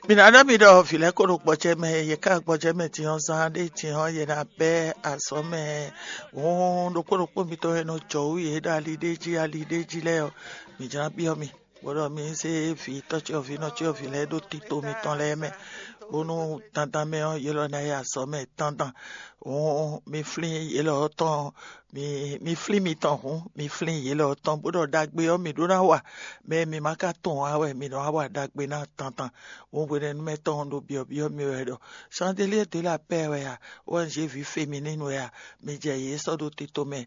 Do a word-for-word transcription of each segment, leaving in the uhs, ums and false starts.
Mi ná ɖɔ mi ɖɔ vǐ lɛ́ɛ ko ɖo gbɔjɛ mɛ, yě ká gbɔjɛ mɛ din ɔ́, zán ɖé din ɔ́, yě ná bɛ́ azɔ̌ mɛ. Hǔn ɖokpó ɖokpó mitɔn e nɔ jɔ wú yě ɖo ali ɖé jí ali ɖé jí lɛ́ɛ ɔ́, mǐ jlá byɔ́ mi, bó ɖɔ mi zé vǐ tɔ́cyɔvǐ nɔcyɔvǐ lɛ́ɛ ɖó tito mitɔn lɛ́ɛ mɛ, bónú dandan mɛ ɔ́, yě lɔ ná yi azɔ̌ mɛ dandan. Hǔn mi flín yě lɔ ɔ́ tɔn, mi mi flín mitɔn hǔn, mi flín yě lɔ ɔ́ tɔn, bó ɖɔ ɖagbe ɔ́, mǐ ɖó ná wa. Mɛ e mǐ ma ka tunwun ǎ wɛ mǐ nɔ wá wa ɖagbe ná tantan. Hǔn hwenɛ́nu mɛ tɔn ɖo byɔ̌byɔ́ mi wɛ ɖɔ: "Sandélié de la pɛ́ wɛ a? O N G ví féminine wɛ a?" Mi jɛ yě sɔ́ ɖó tito mɛ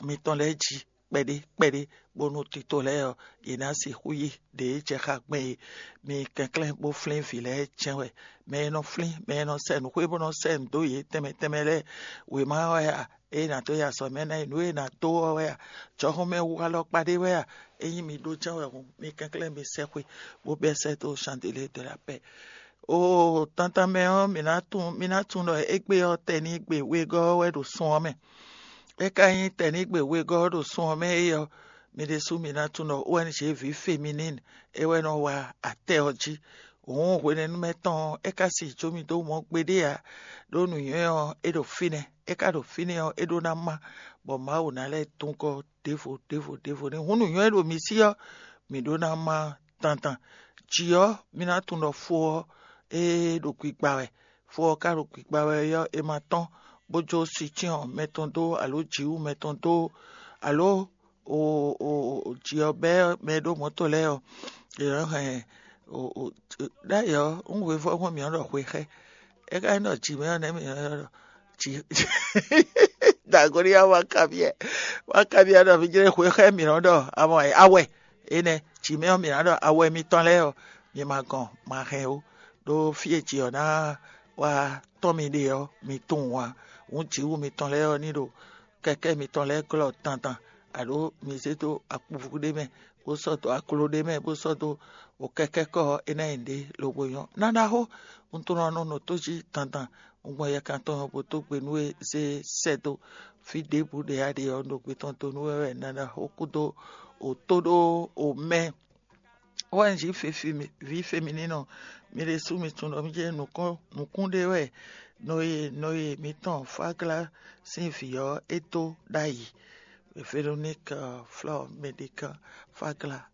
mitɔn lɛ́ɛ jí kpɛɖé kpɛɖé, bónú tito lɛ́ɛ ɔ́, yě ná sixú yi ɖě jɛ xá gbɛn é. Mi kɛnklɛ́n bó flín vǐ lɛ́ɛ jɛ́n wɛ. Mɛ e nɔ flín, mɛ e nɔ sɛ nǔxwé bó nɔ sɛ nǔ dó yě tɛnmɛ tɛnmɛ lɛ́ɛ, wěma wɛ a? Ée nǎ dó yi azɔ̌ mɛ ná yi nǔ e è nǎ dó ɔ́ wɛ a? Jɔhɔn mɛ wu alɔkpa ɖé wɛ a? Ényí mi ɖó jɛ́n wɛ hǔn, mi kɛnklɛ́n mi sɛ́ xwe, bó bɛ́ sɛ́ dó Sandélié de la pɛ́. Oo, tantan mɛ ɔ́, mǐ ná tunwun mǐ ná tunwun ɖɔ égbé ɔ́, tɛnígbe wegɔ́ ɔ́ wɛ ɖo sun ɔ́ mɛ. É ka nyí tɛnígbe wegɔ́ ɔ́ ɖo sun ɔ́ mɛ é ɔ́, mi ɖésú mi ná tunwun ɖɔ O N G ví féminine é wɛ nɔ wa atɛ ɔ́ jí. Hǔn hwenɛ́nu mɛ tɔn ɔ́, é ka si jó mì dó mɔ gbeɖé ǎ, ɖó nǔnywɛ́ ɔ́, é ɖo fínɛ́; é ka ɖo fínɛ́ ɔ́, é ɖó ná má, bɔ Mawu ná lɛ́ dun gɔ́ ɖěvo ɖěvo ɖěvo n'i. Hǔn nǔnywɛ́ e ɖo mi sí ɔ́, mǐ ɖó ná má dandan. Jǐ ɔ́, mi ná tunwun ɖɔ fo ɔ́, é ɖo gbigba wɛ; fo ɔ́ ka ɖo gbigba wɛ ɔ́, è ma tɔ́n bó jó sicyɔ́n mɛ tɔn dó, alo jǐwú mɛ tɔn dó, alo o o o jǐ ɔ́ bɛ́ mɛ e ɖó mɔ̌to lɛ́ɛ ɔ́, è nɔ́ hɛn o o ɖ'ayǐ ɔ́, un hwevɔ́ hwɛ́n mǐ nɔ́ ɖɔ hwe xá ɛ. É ka nyí ɖɔ jǐ mɛ ɔ́ nɛ́ mǐ nɔ́ ɖɔ jǐ dagoniya wá kabyɛ wá kabyɛ ɖɔ mǐ jlɛ́ hwe xá ɛ mǐ nɔ́ ɖɔ awɛ awɛ énɛ́ jǐ mɛ ɔ́ mǐ ná ɖɔ awɛ mitɔn lɛ́ɛ ɔ́, mi ma gɔn ma hɛn ó, ɖó fí e jǐ ɔ́ ná wá tɔ́n mi ɖe ɔ́, mi tunwun ǎ. Hǔn jǐwú mitɔn lɛ́ɛ ɔ́ ní ɖo kɛkɛ́ mitɔn lɛ́ɛ glɔ́ dandan, aɖǒ mi zé dó akpuvú ɖé mɛ, bó sɔ́ dó akló ɖé mɛ, bó sɔ́ dó wǒkɛ́kɛ́kɔ́ ɔ́, é ná nyi nǔɖé lobo nyɔ́. Ná ɖaxó, un tunwun ɖɔ un nɔ nɔ tó jí dandan, un gbɔn yɛkan tɔn ɔ́ bó dó gbe nú we zé sɛ́ dó. Fí ɖěbǔ ɖě a ɖe ɔ́, un ɖo gbe tɔn dó nú we wɛ ná ɖaxó kúdó wǒtóɖó wǒmɛ. O N G ví féminine ɔ́, mi ɖésú mi tunwun ɖɔ mì jɛ nǔkún ɖé wɛ Noye Noye mǐtɔn Fáglá sín vǐ ɔ́ é dó ɖ'ayǐ. Véronique Flore Médécan Fáglá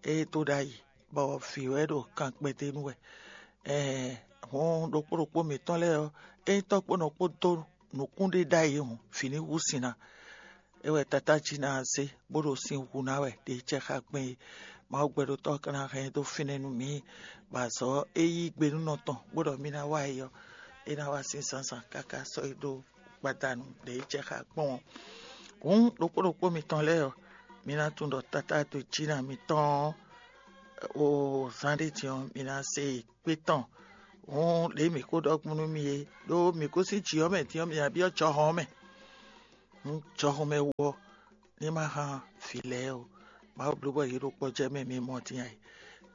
é dó ɖ'ayǐ, bɔ vǐ wɛ ɖo kan kpɛdé nú wɛ. Ɛɛ hɔn ɖokpó ɖokpó mǐtɔn lɛ́ɛ ɔ́, ényí tɔ́ kpó nɔ kpó dó nǔkún ɖé ɖ'ayǐ hǔn, vǐ ní hú sin ná. É wɛ Tatá jí ná zé, bó ɖo sin hu ná wɛ ɖě jɛ xá gbɛn é. Mawu gbɛɖotɔ́ ɔ́ ka ná hɛn ɛ dó fínɛ́ nú mǐ, bɔ azɔ̌ e yí gbe nú nɔ tɔn, bó ɖɔ mì ná wa é ɔ́, é ná wá sín zǎnzǎn káká sɔ́ é ɖó gbadanu ɖě jɛ xá gbɔn ɔ́. Hǔn ɖokpó ɖokpó mitɔn lɛ́ɛ ɔ́, mi ná tunwun ɖɔ Tatá dó jí ná mitɔn ɔ́, o zán ɖé din ɔ́, mi ná se kpé tɔn. Hǔn ɖě mǐ ko ɖɔ gbɔn nú mi é, ɖó mǐ gosín jǐ ɔ́ mɛ din ɔ́, mǐ ná byɔ́ jɔhɔn ɔ́ mɛ. Hǔn jɔhɔn mɛ wú ɔ́, ní ma hán vǐ lɛ́ɛ ó. Mawu bló bɔ yě ɖo kpɔ́ jɛ mɛ mi mɔ din ǎ.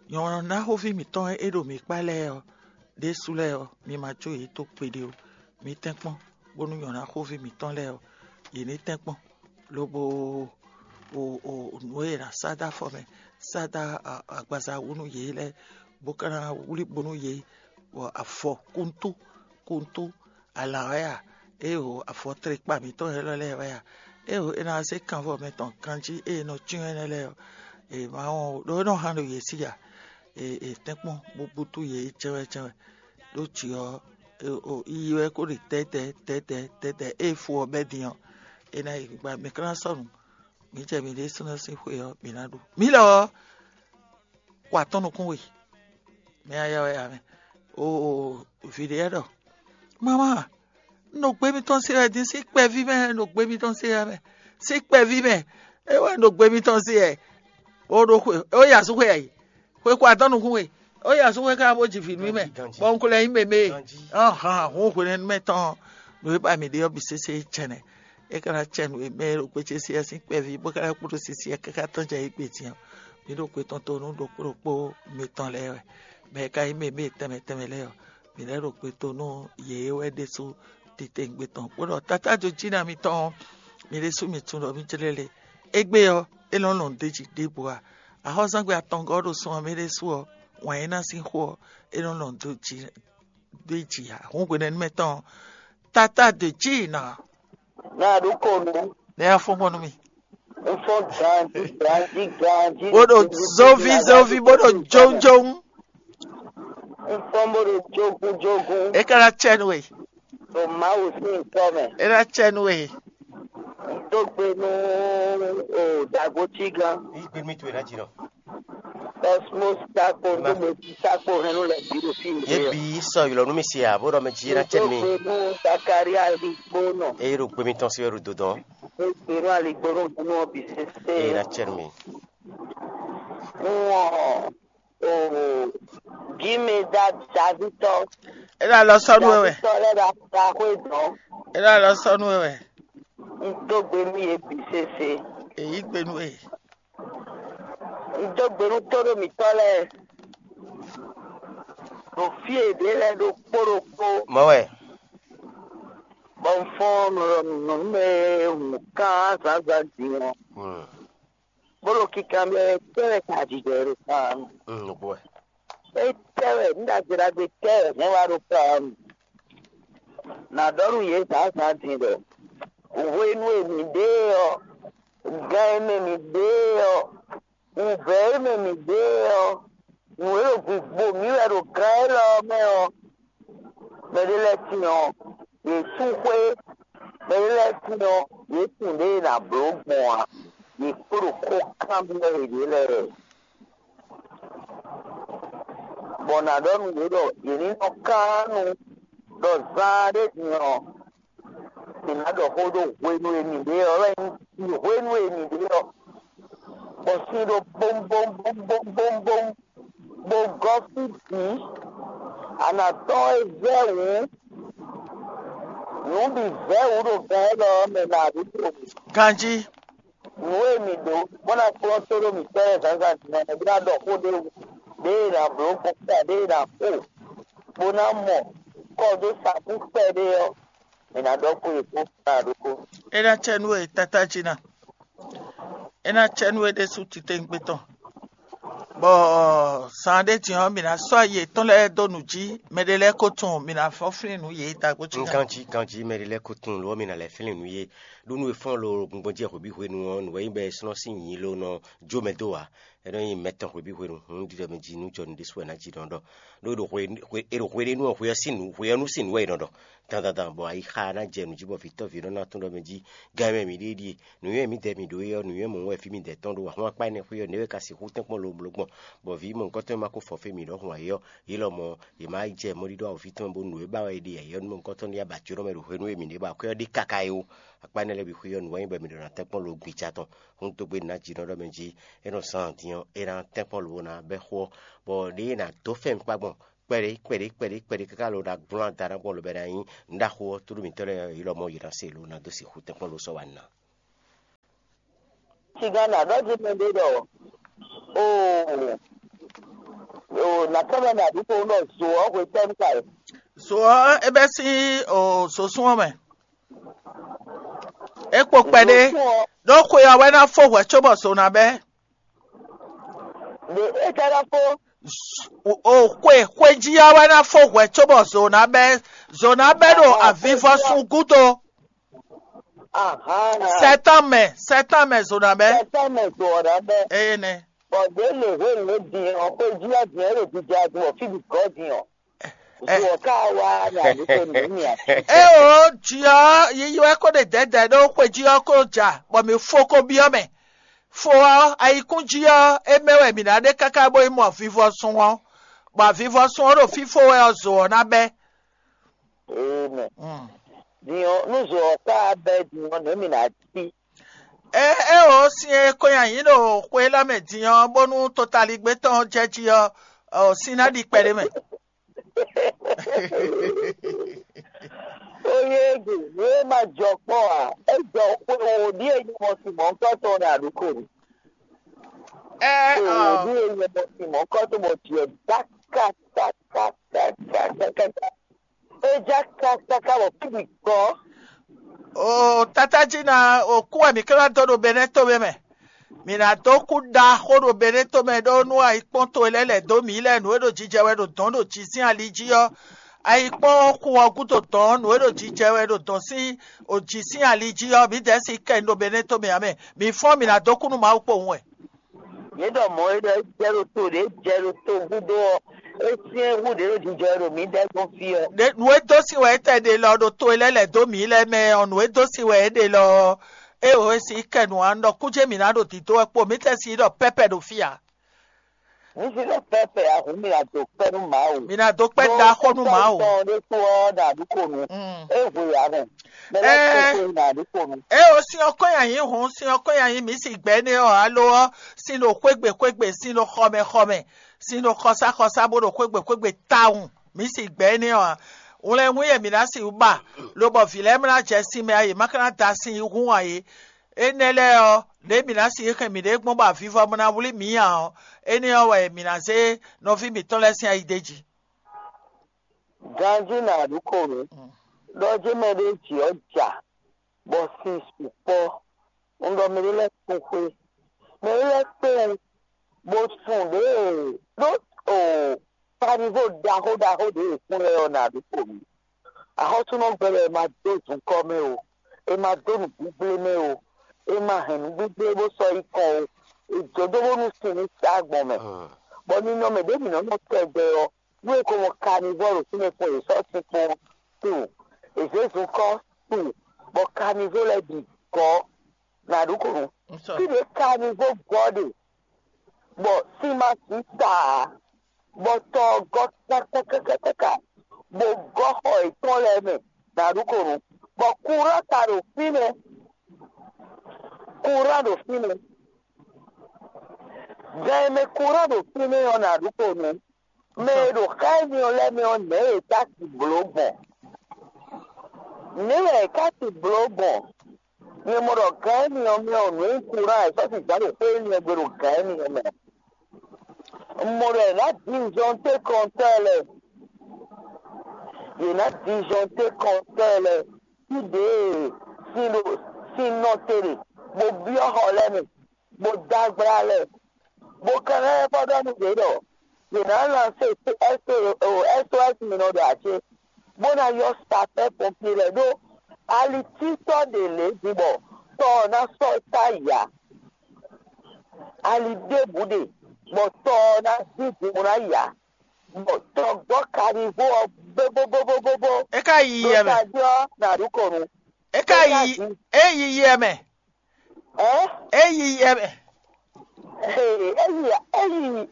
Nyɔ̌ná xóví mǐtɔn e ɖo mǐ kpá lɛ́ɛ ɔ́, ɖésú lɛ́ɛ ɔ́, mi ma jó yě dó gbeɖé ó. Mi tɛ́nkpɔ́n, bónú nyɔ̌ná xóví mǐtɔn lɛ́ɛ ɔ́, yě ní tɛ́nkpɔ́n, lobo o o nǔ e è nǎ sá dó afɔ mɛ, sá dó agbaza wú nú yě lɛ́ɛ, bó ka ná wlí bo nú yě, bɔ afɔ kuntú kuntú alǎ wɛ a? Éeǒ, afɔtlekpa mǐtɔn élɔ́ lɛ́ɛ wɛ a? Éeǒ, è nɔ wá zé kanvɔ mɛtɔn ganjí e è nɔ cyɔ́n énɛ́ lɛ́ɛ ɔ́, è ma wɔn ó, ɖó é nɔ hán ɖo yě sí a? È è tɛ́nkpɔ́n bó bútú yě jɛ́nwɛ́ jɛ́nwɛ́. Ɖó jǐ ɔ́, yiyi wɛ kó ɖe tɛ́tɛ́ tɛ́tɛ́ tɛ́tɛ́, ée fo ɔ́ bɛ́ din ɔ́, è nǎ yi gbigba mǐ ka ná sɔ́ nǔ. Mǐ jɛ mǐ ɖésúnɔ sín xwe ɔ́, mǐ ná ɖu. Mǐ lɔ ɔ́, kɔ atɔ́ nukún we. Mɛ aya wɛ ame. Oo, vǐ ɖé ɖɔ: "Mama, un ɖo gbe mitɔn se wɛ din sín kpɛví mɛ, un ɖo gbe mitɔn se wɛ mɛ, sín kpɛví mɛ, é wɛ un ɖo gbe mitɔn se wɛ." Ó ɖó xwe, ó yi asúxwe ɛ yi. Xwe kɔ atɔ́ nukún we, ó yi asúxwe ká bó ji vǐ nú mɛ, bɔ un ko lɛ nyí mɛmɛ e. Ahan, hǔn hwenɛ́nu mɛ tɔn, nǔ e ba mǐ ɖe ɔ́ bǐ sésé jɛnɛ. É ka ná cɛ nǔ e mɛ e ɖo gbéjé sí ɛ sín kpɛví bó ka ná kpo ɖo sisi ɛ káká tɔn jɛ yí gbe din ɔ́, mǐ ɖo gbe tɔn to nú ɖokpó ɖokpó mitɔn lɛ́ɛ wɛ. Mɛ e ka nyí mɛ e tɛnmɛ tɛnmɛ lɛ́ɛ ɔ́, mǐ lɛ́ ɖo gbe to nú yě wɛ ɖésú titewungbe tɔn, bó ɖɔ: "Tatá jó jí ná mitɔn ɔ́, mi ɖésú mi tunwun ɖɔ mì jlɛ́ le. Égbé ɔ́, é nɔ lɔn ɖ'é jí ɖěbǔ ǎ. Axɔ́súzángbe atɔngɔ́ ɔ́ ɖo sun ɔ́ mɛ ɖésú ɔ́, wǎn é ná sín xó ɔ́, é nɔ lɔn dó jí dó jí ǎ. Hǔn hwenɛ́nu mɛ tɔn ɔ́, tata dó jí nɔ. Nɔ aɖúkonu. Nɛ afɔ́ngbɔn nú mì. Nfɔ́n ganjí ganjí ganjí. Bó ɖo zóví zóví bó ɖo jónjóng. Nfɔ́n bó ɖo jógún jógún. É ka ná cɛ nú we. Ɖo Mawu sín ŋkɔ mɛ. É ná cɛ nú we. Dó gbe nú o dagbo cí gán. Yí gbe nú mì towe ná jí nɔ. Cosmos Sakpo, Numa. Dó gbe nú Sakpo hɛn nú lɛ bǐ ɖo fí Yě yě. Bǐ sɔ ylɔ̌ nú mì se ǎ, bó ɖɔ mɛ jí é ná cɛ nú mì. Dó gbe nú Zakaria Aligbónɔ. Eye ɖo gbe mitɔn sí wɛ ɖo dodɔn. Dó gbe nú Aligbónɔ hɛn nú ɔ bǐ sésé. Eye ná cɛ nú mì. Nú ɔ o gǐmɛ da Davítɔ. É ná lɔ sɔ́ nú we wɛ. Davítɔ lɛ́ ɖo aɖaxwé dɔn. É ná lɔ sɔ́ nú we wɛ. Un dó gbe nú yě bǐ sésé. Èyí gbe nú we. Un dó gbe nú tóɖó mǐtɔn lɛ́ɛ ɖo fí e yě ɖe lɛ́ɛ ɖokpó ɖokpó. Mɔ̌ wɛ. Bɔ un fɔ́n nɔ nɔ nú mɛ e hun kán zǎnzǎn din ɔ́, Hmm. Bó ɖo kinkanbyɔ́ wɛ tɛ́ wɛ ka jijɛ ɖo kpán. Hmm, nǔgbó wɛ. Étɛ́ wɛ nǔ ɖagbe ɖagbe tɛ́ wɛ hɛn wá ɖo kpán? Nǎ ɖɔ nú yě zǎnzǎn din ɖɔ hwenu e mǐ ɖe ɔ́, gan e mɛ mǐ ɖe ɔ́, wǔvɛ́ e mɛ mǐ ɖe ɔ́, nǔ e ɖo gǔgbo mǐ wɛ ɖo gan élɔ́ ɔ́ mɛ ɔ́, mɛɖé lɛ́ɛ tín ɔ́, yě sú xwé, mɛɖé lɛ́ɛ tín ɔ́, yě tunwun ɖěe è nǎ bló gbɔn ǎ, yě kpo ɖo xó kanbyɔ́ yěɖée lɛ́ɛ. Bɔ nǎ ɖɔ nú yě ɖɔ yě ní nɔ kán nu ɖɔ zaan ɖé din ɔ́, mǐ ná ɖɔ xó ɖó hwenu e mǐ ɖe ɔ́ wɛ nyí hwenu e mǐ ɖe ɔ́, bɔ sin ɖo bómbómbómbómbóm, bó gɔ́ fí bǐ. A nǎ tɔ́n é vɛ́ wǔ, nǔ bǐ vɛ́ wǔ ɖo gan élɔ́ ɔ́ mɛ nǎ ɖu to. Ganjí. Nǔ e mǐ ɖǒ bó ná kplɔ́n tó ɖó mǐtɔn lɛ́ɛ zǎnzǎn din ɔ́, mɛ bó ná ɖɔ xó ɖé wú, ɖěe è nǎ bló gbɔn kpá ɖěe è nǎ xo, bó ná mɔ kɔ dó sa kú kpɛɖé ɔ́, mǐ ná ɖɔ xó e kpó kpá ɖokpó. É ná cɛ nú we tátájí ná. É ná cɛ nú we ɖésú titewungbe tɔn. Bɔ zan ɖé din ɔ́, mǐ ná sɔ́ ayi yětɔn lɛ́ɛ dó nǔ jí, mɛɖé lɛ́ɛ ko tunwun, mǐ ná fɔ́n flín nǔ yě. Tagbó cí Ganjí, ganjí, mɛɖé lɛ́ɛ ko tunwun lǒ ɔ́, mǐ ná lɛ́ flín nǔ yě. Ɖó nú e fɔ́n lo gbɔngbɔn jí xwebǐ hwenu ɔ́, nǔ wɛ nyí bɔ è slɔ́n sín nyǐ lo nɔ jó mɛ dó ǎ. É nɔ nyí mɛ tɔn xwebǐ hwenu, hǔn ɖiɖɔ mɛ jí nú jɔ nǔ ɖésú wɛ ná jí nɔ ɖɔ. Ɖó è ɖo hwe è ɖo hwe ɖé nú ɔ́, hwe ɔ́ sín nǔ, hwe ɔ́ nú sín nǔ wɛ è nɔ ɖɔ. Dandandan bɔ ayixa ná jɛ nǔ jí bɔ vǐtɔ́ví nɔ ná tún ɖɔ mɛ jí. Gan e mɛ mǐ ɖe ɖíe, nǔnywɛ́ mǐdɛɛ mǐ ɖó é ɔ́, nǔnywɛ́ mɔ̌ wɛ fí mǐdɛɛ tɔn ɖó. Ahwan akpá énɛ́ xwé ɔ́, nɛ̌ wɛ ka sixú tɛ́nkpɔ́n lo bló gbɔn, bɔ vǐ mɔ̌hunkɔtɔn e ma ko fɔ fí mǐ ɖɔhun ǎ é ɔ́, yě lɔmɔ̌, yě má yi jɛ mɔɖíɖó awǒvi tɔn mɛ bónú nǔ e ba wɛ è ɖe ǎ é ɔ́ nú mɔ̌hunkɔtɔn ní yi abǎcyóɖɔ mɛ ɖo hwenu e mǐ ɖe ba akwɛ́ ɔ́ ɖe káká é ó. Akpá énɛ́ lɛ́ɛ bǐ xwé ɔ́, nǔ wɛ nyí bɔ mǐ ɖo ná tɛ́nkpɔ́n lo gbija tɔn. Hún dó gbe nǎ jǐ nɔ ɖɔ mɛ jí, é nɔ zán din ɔ́, é ná tɛ́nkpɔ́n lo ná bɛ́ xó ɔ́, bɔ ɖěe è nǎ dó fɛ́n kpá gbɔn kpɛɖé kpɛɖé kpɛɖé kpɛɖé káká lo ná glɔ́n ada ná gbɔn lobɛ ná nyí nǔɖaxó ɔ́, tlóló mǐtɔn lɛ́ɛ ɔ́, yě lɔmɔ̌ yě ná se lo ná dó sixú tɛ́nkpɔ́n lo sɔ́ wa ná. Sigan nǎ ɖɔ jí mɛ ɖé ɖɔ, oo, oo, nǎ tɔ́ mɛ nǎ ɖu ko ɖɔ zo ɔ́ hwetɛ́nu ka ɛ? Zo ɔ́, é bɛ́ sín o zosún ɔ́ mɛ. É kpo kpɛɖé. Ɖó xwe ɔ́ wɛ ná fó hwɛ̌ cóbɔ zo ná bɛ́. Ɖe é ka ná fó. O xwe xwe jí ɔ́ wɛ ná fó hwɛ̌ cóbɔ zo ná bɛ́. Zo ná bɛ́ ɖo avivɔsún gúdo. Ahán. Sɛtɔ́n mɛ, sɛtɔ́n mɛ zo ná bɛ́. Sɛtɔ́n mɛ zo ɔ́ ná bɛ́. Eye nɛ. Bɔ ɖě lě hwenu e din ɔ́, xwe jí ɔ́ din ɔ́ ɖo jija din bɔ fí bǐ gɔ́ din ɔ́. Zo ɔ́ ka wá nya ní ko nǔ mì ǎ. É o jí ɔ́, yiyi wɛ kó ɖe dɛ̌dɛ̌ ɖó xwe jí ɔ́ kó ja, bɔ mǐ fó kó byɔ́ mɛ. Fó ɔ́, ayikún jí ɔ́, é mɛ wɛ mǐ ná ɖe káká bó yi mɔ avivɔsún ɔ́, bɔ avivɔsún ɔ́ ɖo fífó wɛ ɔ́, zo ɔ́ ná bɛ́. Amen. Mm. Din ɔ́, nú zo ɔ́ ka bɛ́ din ɔ́, nɛ̌ mǐ ná cí? É é o sin e ko nyi ayǐ ɖo xwe élɔ́ mɛ din ɔ́, bónú totaligbé tɔn jɛ jí ɔ́, ɔ, sin ná ɖi kpɛɖé mɛ. Oyégu, nǔ e ma jɔ kpɔ́n ǎ, é jɔ xwe wǒ ɖíe nyɔmɔ sin mɔ̌hunkɔtɔn ɔ́ ɖo aɖǔko ni. Ɛ Xwe wǒ ɔ, ɖíe nyɔmɔ sin mɔ̌hunkɔtɔn bɔ jǐ ɛ dá kákákákákáká. É já kákáká bɔ fí bǐ gbɔ. O tata jí ná o kú wɛ mǐ ká ná dó ɖo Benɛ́ tomɛ mɛ. Mǐ ná dó kú ɖaxó ɖo Beneto mɛ ɖó nú ayikpɔ́n towe lɛ́ɛ lɛ̌ dó mǐ lɛ́ɛ nǔ e ɖo jijɛ wɛ ɖo dɔ̌n ɖo jǐ sín ali jí ɔ́. Ayikpɔ́n ɔ́ xu ɔ́ gúdo dɔ̌n nǔ e ɖo jijɛ wɛ ɖo dɔ̌n sín jǐ sín ali jí ɔ́, mǐdɛɛ sixú kɛ ɖo Beneto mɛ ǎ mɛ. Mǐ fɔ́n mǐ ná dó kú nú Mawu kpowun wɛ. Yě ɖɔ mɔ̌ é ɖɔ é jɛ ɖo to ɖě jɛ ɖo to gúdo ɔ́, é syɛ́n hú ɖě ɖo jijɛ wɛ ɖo mǐdɛɛ gbɔn fí ɔ́. Nǔ e dó sin wɛ é tɛ ɖe lɔ ɖo to e lɛ́ɛ lɛ̌ dó mǐ lɛ́ɛ mɛ ɔ́, nǔ e dó sin wɛ é ɖe lɔ ɔ́, é wǒ e sin kɛ nǔ ǎ, un ɖɔ kújé mǐ ná ɖo dǐdó wɛ kpo, mǐ tɛ sin ɖɔ pɛ́pɛ ɖo fí ǎ. Ní sí lɔ pɛ́pɛ ahǔn mi ná dó kpɛ́ nú Mawu. Mǐ ná dó kpɛ́ ɖaxó nú Mawu. Tɔn ɖé kú ɔ́ ɖo àdúgbò nu. Mm. É hwe ǎ mɛ. Mɛ lɛ́ɛ Ɛɛ. Kpɛ́ kpɛ́ nú àdúgbò nu. É o sin ɔ́ kɔn nyi ayǐ hǔn, sin ɔ́ kɔn nyi ayǐ mǐ si gbɛ̌ nɛ́ ɔ́, alo ɔ́, sin ɖo xwégbè xwégbè, sin ɖo xɔmɛ xɔmɛ, sin ɖo xɔsáxɔsá bó ɖo xwégbè xwégbè tawun, mǐ si gbɛ̌ nɛ́ ɔ́ ǎ. Wlɛ́nwún e mǐ ná sixú ba, lobɔ vǐ lɛ́ɛ ma ná jɛ sin mɛ ǎ, yě ma ka ná da sin yí hú ǎ é. Énɛ́ lɛ́ɛ ɔ́, lě e mǐ ná sixú hɛn mǐɖée gbɔn bɔ avivɔ ma ná wlí mǐ ǎ ɔ́, énɛ́ ɔ́ wɛ mǐ ná zé nɔví mǐtɔn lɛ́ɛ sín ayi d'é jí. Ganjí nǎ ɖu kɔn nú ɖɔ jí mɛ ɖé jǐ ɔ́ ja, bɔ sin sukpɔ́. Un ɖɔ mɛ ɖé lɛ́ɛ kpɔ́n xwé, mɛ ɖé lɛ́ɛ kpé wú, bó sun ɖěe ɖó o kanivo ɖaxó ɖaxó ɖě e kún lɛ́ɛ ɔ́ nǎ ɖu kɔn nú. Axɔ́súnɔ gbɛɖe e ma dó zunkɔ́ mɛ o, e ma dó nǔgbígblé mɛ o, e ma hɛn nǔgbígblé bó sɔ́ yi kɔn o, è jǒ dó bónú sin ní sá gbɔn mɛ. Bɔ ninɔmɛ ɖě mǐ nɔ́ nɔ tɛgbɛ ɔ́, nú è ko mɔ kanivɔ́ ɖo fínɛ́ kpɔ́n, è sɔ́ sin kpɔ́n tunwun, è zě zunkɔ́ tunwun, bɔ kanivɔ́ lɛ́ɛ bǐ gɔ́. Nǎ ɖu kɔn nú. Fí ɖě kanivɔ́ gɔ́ ɖe, bɔ sin ma sǐ ta ǎ, bɔ tɔ ɔ́ gɔ́ káká káká káká, bó gɔ́ xɔ yětɔn lɛ́ɛ mɛ, nǎ ɖu kɔn nú, bɔ kurán ka ɖo fínɛ́, kurán ɖo fínɛ́, gan e mɛ kurán ɖo fínɛ́ ɔ́, nǎ ɖu kɔn nú. Mɛ e ɖo xá énɛ́ ɔ́ lɛ́ɛ mɛ ɔ́, nɛ̌ yě ká ti blǒ gbɔn? Nɛ̌ wɛ yě ká ti blǒ gbɔn? Nyɛ mɔ ɖɔ gan énɛ́ ɔ́ mɛ ɔ́, nǔ e nyí kurán e sɔ́ sixú ɖo xwé énɛ́ ɔ́ gbe ɖo gan énɛ́ ɔ́ mɛ. Un mɔ ɖɔ è nǎ disɔnté kɔntɔ́ lɛ́ɛ. Yě ná disɔnté kɔntɔ́ lɛ́ɛ. Fí ɖě e sin ɖo sin nɔ te ɖe, bó byɔ́ xɔ lɛ́ɛ mɛ, bó dó agbla lɛ́ɛ, bó ka ná lɛ́ vɔ́ ɖɔ nú yě ɖɔ yě ná lanse S O S mi nɔ ɖo ǎ cé, bó ná ylɔ́ sapɛ́ pɔnpié lɛ́ɛ ɖó alitítɔ́ ɖě lě din bɔ tɔ ɔ́ ná sɔ́ ta yi ǎ. Ali ɖěbǔ ɖe bɔ tɔ ɔ́ ná dín din bó ná yi ǎ, bɔ tɔgbɔ́ kavívó ɔ́ bóbóbóbóbó É ka yi yi ɛ mɛ. Tají ɔ́ ná ɖu kɔn nú. É ka yi é yi yi ɛ mɛ. Ɛ É yi yi ɛ mɛ. Ee, é yi é yi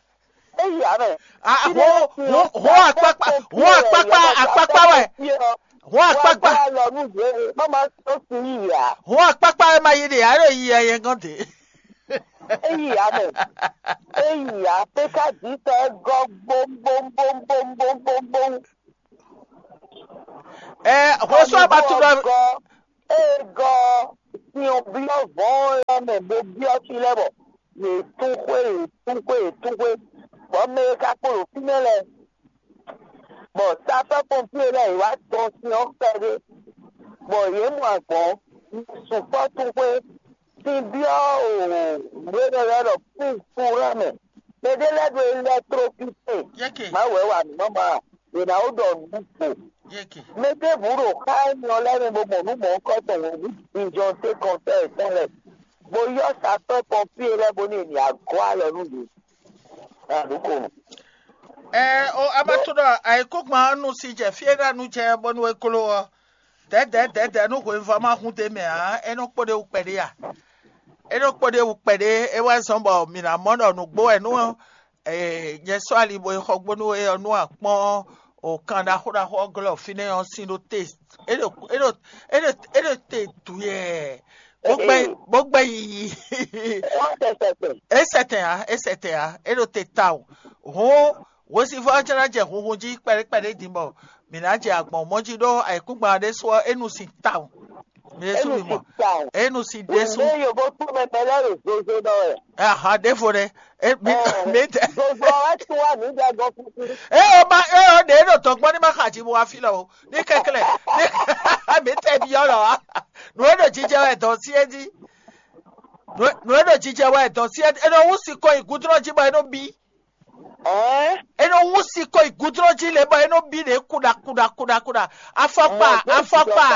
é yi ǎ mɛ. Ah, Fí ɖé ho lɛ́ɛ sín ho ɔ́, ho akpakpa ho akpakpa akpakpa wɛ. Ho akpakpa. Wá lɔ nú yě má má tó sin yíyí ǎ. Ho akpakpa wɛ ma yi ɖe ǎ ɖo yi ɛ yɛ gɔn de. É yi ǎ mɛ. É yi ǎ pé ká dǐ tɔ é gɔ́ gbóngbóngbóngbóngbóngbóngbóng. Ɛ hwesú abatúɖɔ. Gɔ́ é gɔ́ sin ɔ́ byɔ́ vɔ̌ɔn lɛ́ɛ mɛ bó byɔ́ fí lɛ́ɛ bɔ yě tún xwé yě tún xwé yě tún xwé, bɔ mɛ e ka kpo ɖo fínɛ́ lɛ́ɛ, bɔ safɛ́ pɔnpíe lɛ́ɛ yě wá dɔn sin ɔ́ kpɛɖé, bɔ yě mɔ agbɔ̌n sukpɔ́ tún xwé. Sin byɔ́ o nǔ e nɔ ylɔ́ ɖɔ púpúra mɛ. Mɛ ɖé lɛ́ɛ ɖo elɛkplokite. Yeke. Mawu wɛ wa nǔ nɔ ma. Yě ná wó ɖɔ nǔ gbo. Yeke. Mɛ ɖěbǔ ɖo xá énɛ́ ɔ́ lɛ́ɛ mɛ bó mɔ nǔ mɔ̌hunkɔtɔn hǔn, vǐjɔntékɔntɔ́ yětɔn lɛ́ɛ, bó ylɔ́ sapɛ́ pɔnpíe lɛ́ɛ bónú è nǐ wá gɔ́ alɔ nú yě. Nǎ ɖu ko. Ɛ o, a ma tunɔ ayǐkúngban ɔ́ nu si jɛ fí e ɖo anu jɛ bónú é gló ɔ́. Dɛ̌dɛ̌ dɛ̌dɛ̌ nú hweyivɔ́ ma hun d'é mɛ ǎ, é nɔ kpo ɖ'é wú kpɛɖé a? É nɔ kpo ɖ'é wú kpɛɖé, é wɛ zɔ́n bɔ mǐ ná mɔ ɖɔ nǔgbó wɛ nú nyɛ sɔ́ ali bo yi xɔ gbo nú é ɔ́, nú a kpɔ́n o kan ɖaxó ɖaxó ɔ́ glɔ́ fínɛ́ ɔ́ sín ɖó te. É ɖo é ɖo é ɖo é ɖo te duyɛɛ. Bó gbɛ bó gbɛ yiyi. É sɛtɛn ǎ, é sɛtɛn ǎ, é ɖo te tawun. Hǔn hwesivɔ́ ɔ́ jɛ́n ná jɛ hunhun jí kpɛɖé kpɛɖé din bɔ mǐ ná jɛ agbɔ̌n mɔ jí ɖó ayǐkúngban ɔ́ ɖésú ɔ́, é nu sin tawun. Mǐ ɖésú mǐ mɔ. É nu sin ɖésú. Nú yovo kpó mɛ mɛ lɛ́ɛ ɖo zozo ɖɔ wɛ. Aha, ɖěvo ɖé. É mi mi tɛ. Zozo ɔ́ wɛ tún wá mǐ jɛ gɔ́ kúkú. É o ma é o ɖě ɖo tɔn gbɔn ní ma xa jí bo wá fí lɔ o. Ní kɛklɛ. Ní mi tɛ byɔ́ lɔ wá. Nǔ e ɖo jijɛ wɛ dɔn sí é jí. Nǔ e nǔ e ɖo jijɛ wɛ dɔn sí é nɔ wú sikɔ yi gúdúnɔ jí bɔ é nɔ bí. É nɔ wú sikɔ yi gúdúnɔ jí lě bɔ é nɔ bí ɖě kuɖa kuɖa kuɖa kuɖa. Afɔkpa, afɔkpa,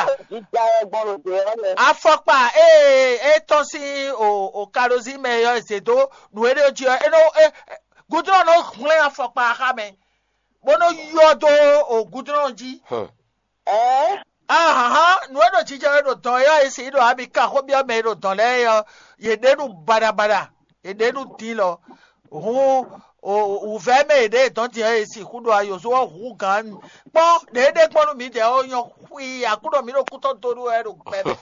afɔkpa ee é tɔ́n sín o o kalozí mɛ ɔ́ e zě dó nǔ e ɖe jí ɔ́, é nɔ é gúdúnɔ nɔ hwlɛ́n afɔkpa xá mɛ, bó nɔ yɔ dó o gúdúnɔ jí. Ɛɛ, ahǎnhán nǔ e ɖo jijɛ wɛ ɖo dɔn e ɔ́, e sixú ɖɔ ami ka xó byɔ́ mɛ e ɖo dɔn lɛ́ɛ é ɔ́, yě ɖe nú baɖabaɖa, yě ɖe nú din lɔ. Hǔn wǔvɛ́ mɛ e ɖě dɔn din ɔ́, e sixú ɖo ayǒzó ɔ́ hú gǎn. Kpɔ́n ɖě ɖe gbɔn nú mǐdɛɛ ɔ́ nyɔ́ xwii, Aklúnɔ mǐ ɖo kútɔ́ dó nú wɛ ɖo gbɛ mɛ.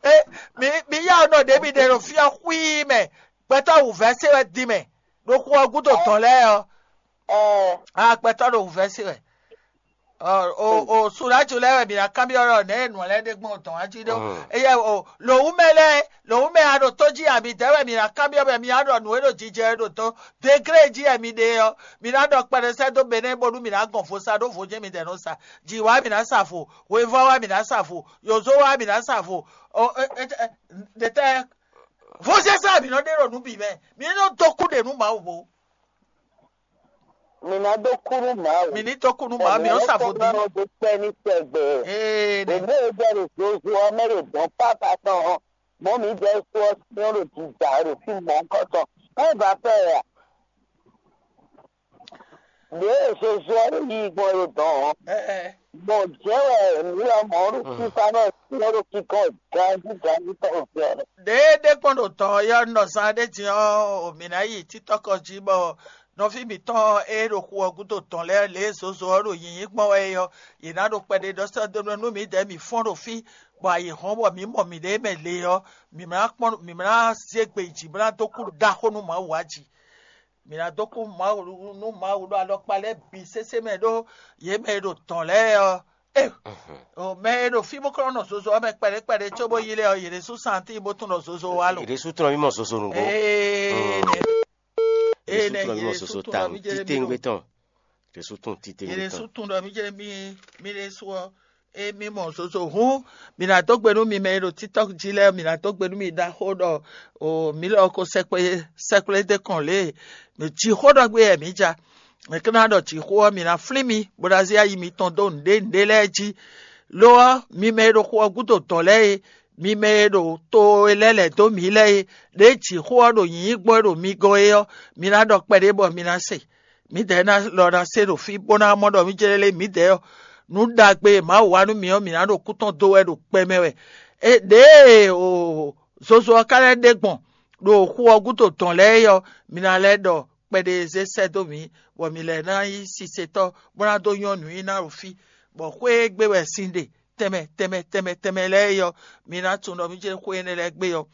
É, mi mi yá nɔ ɖě mi ɖe ɖo fí ɔ́ xwii mɛ, gbɛtɔ́ wǔvɛ́ se wɛ din mɛ, ɖo xu ɔ́ gúdo dɔn lɛ́ɛ ɔ́. Aa, gbɛtɔ́ ɖo wǔvɛ́ se wɛ. O o Suɖáju lɛ́ɛ wɛ mǐ ná kanbyɔ́ ɖɔ nɛ̌ e nǔ lɛ́ɛ ɖe gbɔn dɔn ǎ jí ɖó. Éyɛ́ o lǒwúmɛ lɛ́ɛ, lǒwúmɛ a ɖo tó jí a midɛɛ wɛ mǐ ná kanbyɔ́ bɔ mǐ ná ɖɔ nǔ e ɖo jijɛ e ɖo dɔn degré jí wɛ mi ɖe ɔ́, mǐ ná ɖɔ kpɛɖé sɛ́ dó Benɛ́ bónú mǐ ná gɔn vo sa ɖó vo jɛ́n midɛɛ nɔ sa. Jǐ wá mǐ ná sa vo, hwevɔ́ wá mǐ ná sa vo, yǒzo wá mǐ ná sa vo. Ɖetɛ́ vo sɛ́sɛ́ mǐ nɔ ɖe ɖo nǔ bǐ mɛ, mǐ ní nɔ dó kú ɖe nú Mawu bo. Mǐ ná dó kú nú Mawu. Mǐ ní dó kú nú Mawu, mǐ nɔ sa vodún. Mǐ dó kpɛ́ ní tɛgbɛ. Ee, nɛ. Èmi e jɛ ɖo zozo ɔ́ mɛ ɖo dɔ̌n pápá tɔn ɔ́, mɔ̌ mǐdɛɛ su ɔ́ syɔ́n ɖo jǐjà ɖo fí mɔ̌hunkɔtɔn. Má va fɛ ɛ a? Ɖěe zozo ɔ́ ɖo yiyi gbɔn ɖo dɔ̌n ɔ́, Ɛɛ. Gbɔn jɛ́n wɛ mǐ lɔmɔ̌ ɖo fífá nɔ syɔ́n ɖo kíkɔ́ ganjí ganjí tɔn ɖo fí ɔ́. Ɖěe ɖé kpɔ́n ɖo dɔ̌n ɔ́ nɔ zán ɖé din ɔ́, mǐ ná yi títɔ́kɔ jí bɔ nɔví mǐtɔn e ɖo xu ɔ́ gúdo dɔ̌n lɛ́ɛ lě e zozo ɔ́ ɖo nyǐnyí gbɔn wɛ é ɔ́, yě ná ɖo kpɛɖé ɖɔ sɛ́ dó nú mǐdɛɛ mǐ fɔ́n ɖo fí, bɔ ayǐ hɔ́n bɔ mǐ mɔ mǐɖée mɛ le ɔ́, mǐ ná kpɔ́n mǐ ná zé gbe yi jǐ bó ná dó kú ɖaxó nú Mawu ǎ jí. Mǐ ná dó kú Mawu nú Mawu ɖo alɔkpa lɛ́ɛ bǐ sésé mɛ ɖó yě mɛ e ɖo dɔ̌n lɛ́ɛ ɔ́. Ee, o mɛ e ɖo fí bó klɔ́ nɔ zozo ɔ́ mɛ kpɛɖé kpɛɖé cóbó yi lɛ́ɛ ɔ́, yě ɖésú santín bó tunwun ɖɔ zozo wá lo. Yě ɖésú tunwun mì mɔ zozo nǔgbó. Ee, nɛ. Yě ɖésú tunwun mì mɔ zozo tawun. Títewungbe tɔn. Yě ɖésú tunwun títewungbe tɔn. Yě ɖésú tunwun ɖɔ mí jɛ mí mí ɖésú ɔ́, émí mɔ zozo hǔn, mǐ ná dó gbe nú mi mɛ e ɖo TikTɔk jí lɛ́ɛ, mǐ ná dó gbe nú mi ɖaxó ɖɔ o mǐ lɔ ko sɛkplé sɛkplé dé kɔn lě e jǐxó ɖɔ gbé wɛ mǐ ja. Mǐ ka ná ɖɔ jǐxó ɔ́, mǐ ná flín mi, bó ná zé ayi mitɔn dó nǔɖé nǔɖé lɛ́ɛ jí. Lo ɔ́, mi mɛ e ɖo xu ɔ́ gúdo dɔ̌n lɛ́ɛ e, mi mɛ e ɖo to e lɛ́ lɛ̌ dó mǐ lɛ́ɛ e, ɖěe jǐxó ɔ́ ɖo nyǐnyí gbɔn e ɖo mi gɔ́n é ɔ́, mi ná ɖɔ kpɛɖé bɔ mi ná se. Mǐdɛɛ ná lɔ ná se ɖo fí bó ná mɔ ɖɔ mí jlɛ́ lé mǐdɛɛ ɔ́, nǔ ɖagbe e Mawu wa nú mǐ ɔ́, mǐ ná ɖo kú tɔn dó wɛ ɖo kpɛ mɛ wɛ. Ɖěe o zozo ɔ́ ka lɛ́ ɖe gbɔn ɖo xu ɔ́ gúdo dɔ̌n lɛ́ɛ é ɔ́, mi ná lɛ́ ɖɔ kpɛɖé e zé sɛ́ dó mǐ, bɔ mǐ lɛ́ ná nyí sisetɔ́, bó ná dó nyɔ́ nǔnyiná ɖo fí, bɔ xwé e gbe wɛ sin ɖe tɛnmɛ tɛnmɛ tɛnmɛ tɛnmɛ lɛ́ɛ é ɔ́, mi ná tunwun ɖɔ mí jlɛ́ xwé énɛ́ lɛ́ɛ gbé ɔ́.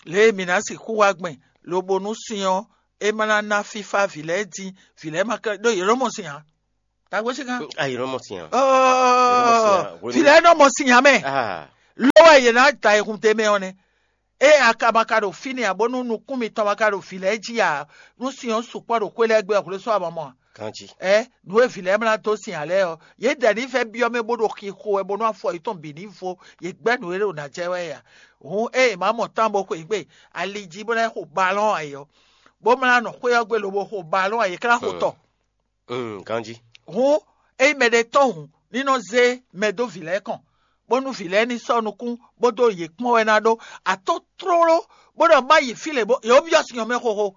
Lě e mǐ ná sixú wá gbɛn, lobo nú sin ɔ́, é ma ná ná fífá vǐ lɛ́ɛ dín, vǐ lɛ́ɛ ma ka ɖó yě nɔ mɔ sin ǎ. Tagbó sí kan. Ayi nɔ mɔ sin ǎ. Ɔɔ, vǐ lɛ́ɛ nɔ mɔ sin ǎ mɛ. Ah. Ló wɛ yě ná da ayihun d'é mɛ ɔ́ nɛ́. Ée a ka ma ka ɖo fínɛ́ ǎ, bónú nukún mitɔn ma ka ɖo vǐ lɛ́ɛ jí ǎ, nú sin ɔ́ sukpɔ́ ɖo xwé lɛ́ɛ gbe ɔ́, xwlé sɔ́ a ma mɔ a? Kanjí. Ɛ, nǔ e vǐ lɛ́ɛ mlá dó sin ǎ lɛ́ɛ ɔ́, yě dɛ ní vɛ́ byɔ́ mɛ bó ɖo xixo wɛ bónú afɔ yětɔn bǐ ní vo, yě gbɛ́ nǔ e ɖo nǎ jɛ wɛ é ǎ. Hǔn ée è má mɔ tán bó xweyǐgbe ali jí bó ná xo balɔ́n ǎ é ɔ́, bó mlá nɔ xwé ɔ́ gbe lobo xo balɔ́n ǎ, yě ká ná xo tɔ. Ganjí. Hǔn ényí mɛɖé tɔ́n hǔn, ní nɔ zé mɛ dó vǐ lɛ́ɛ kɔn, bónú vǐ lɛ́ɛ ní sɔ́ nukún, bó dó yě kpɔ́n wɛ ná ɖó. Atɔ́ tlóló, bó ɖɔ má yi fí lě bó yě wó byɔ́ sin ɔ́ mɛ xóxó.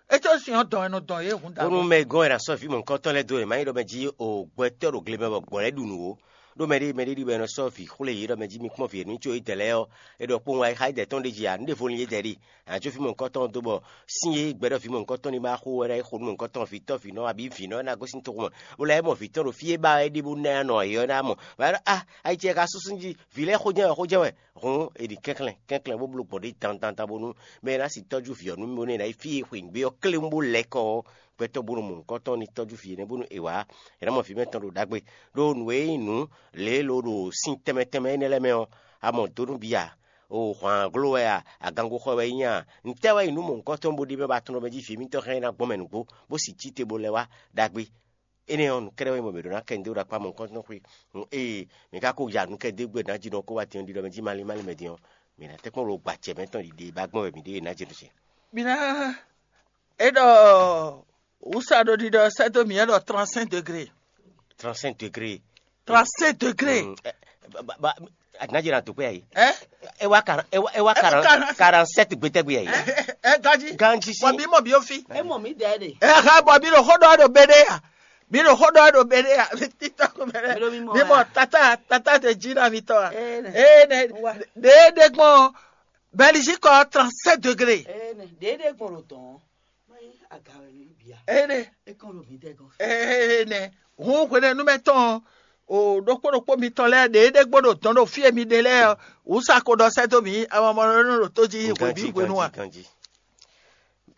É có sin ɔ́ dɔn wɛ nɔ dɔn yě hǔn Bónú dǎwe. Mɛ gɔ́n è nǎ sɔ́ vǐ mɔ̌hunkɔtɔn lɛ́ɛ dó wěma nyi ɖɔ mɛ jí o gbɛtɔ́ ɖo gle mɛ bɔ gbɔ̌ lɛ́ɛ ɖu nǔ ó. Ɖó mɛɖé mɛɖé ɖi bɔ è nɔ sɔ́ vǐ xwlé yě ɖɔ mɛ jí mi kpɔ́n vǐ e nú có yí dɛ lɛ́ɛ ɔ́, é ɖɔ kpowun ayixá yí dɛ tɔn ɖ'é jí ǎ, nǔ ɖěvo lin yé dɛ ɖi. Ǎ có fí mɔ̌hunkɔtɔn dó bɔ sín e gbɛɖɔ vǐ mɔ̌hunkɔtɔn ní ma xo wɛ ná yi xo nú mɔ̌hunkɔtɔn vǐtɔ́ vǐnɔ abǐ vǐnɔ ná gosín toxo mɛ, bó lɛ́ mɔ vǐtɔn ɖo fí e ba wɛ é ɖe bó ná nɔ yě ɔ́ ná mɔ. Vǎ ɖɔ a ayi ce ka súsú jí vǐ lɛ́ɛ xó jɛ́n wɛ xó jɛ́n wɛ. Hǔn è ɖi kɛnklɛ́n kɛnklɛ́n bó bló gbɔn ɖě dandandan bónú mɛ e ná si tɔ́jú vǐ ɔ́ nú mì bónú è nǎ yi fí e xweyǐgbe ɔ́ klé bó lɛ́ kɔ ɔ́, gbɛtɔ́ bó nɔ mɔ nǔkɔntɔn ní tɔ́jú vǐ énɛ́ bónú è wǎ è nǎ mɔ vǐ mɛtɔn ɖo ɖagbe. Ɖó nǔ e nyí nǔ lě e lo ɖo sin tɛnmɛ tɛnmɛ énɛ́ lɛ́ɛ mɛ ɔ́, a mɔ dó nú bǐ ǎ. O hwǎnglo wɛ a, agangoxɔ wɛ é nyí a, ntɛ́ wɛ nyí nú mɔ̌hunkɔtɔn bó ɖi mɛ ba tunɔ mɛ jí vǐ mitɔn hɛn ná gbɔn mɛ nǔgbó, bó si cí te bó lɛ́ wá ɖagbe? Énɛ́ ɔ́, nǔkɛ́ɖɛ́ wɛ nyí bɔ mǐ ɖó ná kɛ nǔ ɖó ɖo akpá mɔ̌hunkɔtɔn xwé. Ée mǐ ka ko ya nǔ kɛ dó gbe nǎ jí ɖɔ kó wá din ɔ́, ɖiɖɔ mɛ jí malín malín mɛ din ɔ́, mǐ ná tɛ́nkpɔ́n ɖo gbacɛ mɛtɔn ɖiɖe ba gbɔn wɛ mǐ ɖe ná jí ɖo ce. Mǐ ná é ɖɔ wǔsa ɖo ɖiɖɔ sɛ́ dó mǐ é ɖɔ trente-cinq degré. Trente-cinq degré. Trente-cinq degré. Mm, ɛ, ba- ba- ba- Adinaji na dukwe ayi. Ɛ? E wa karan e wa e wa karan karan sept gbetɛgbe ayi. Ɛ, ɛ, ganji. Ganji si. Bɔ bí mɔ bí ó fi. E mɔ mi dɛ de. Ɛ ha bɔ bí ɖo xó ɖɔ ɖo bé ɖé ya. Bí ɖo xó ɖɔ ɖo bé ɖé ya. Títọ́ kó mɛ Mi ɖo mi mɔ bí mɔ wa. Tata tata tɛ jí na mi tɔ wa. Ee, nɛ. Ee, nɛ. Wa. Ɖe ɖe gbɔn Belgique ɔ trente-sept degré. Ee, nɛ. Ɖe ɖe gbɔn ɖo dɔn. Má yí aga wɛ ní bia. Ee, nɛ. E kàn ɖo mi dɛ gɔn. Ee, nɛ. Hun hwenɛnu mɛ tɔn o ɖokpó ɖokpó mitɔn lɛ́ɛ ɖe ɖe gbɔn ɖo dɔn ɖo fí e mi ɖe lɛ́ɛ ɔ. Wǔsa ko ɖɔ sɛ́ dó mǐ amamɔnɔ ɖo tó jí hwebǐ hwenu a? Ganji.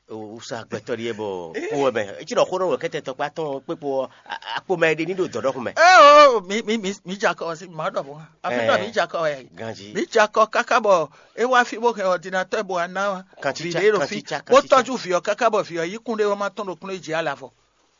Wúsa gbɛtɔ́ ɖíe bɔ kó wɛ mɛ. Eci ɖɔ xó ɖɔ wɛ kɛtɛ tɔkpá tɔn kpé kpo ɔ́, akpomɛ ɖé ní ɖo dɔ̌ɖɔ́xu mɛ. Eo, mi mi mi mi dza kɔ si ma ɖɔ bɔ. Afi ɖɔ mi dza kɔ wɛ. Ganji. Mi dza kɔ káká bɔ e wá fí bó hɛn ordinateur bó wá ná. Kanti tsa, ɖé ɖo fi kanti tsa, bó kanti tsa. Tɔ́jú vǐ ɔ́ káká bɔ vǐ ɔ́ yí kún ɖé wá má tɔn ɖo kún jí alavɔ.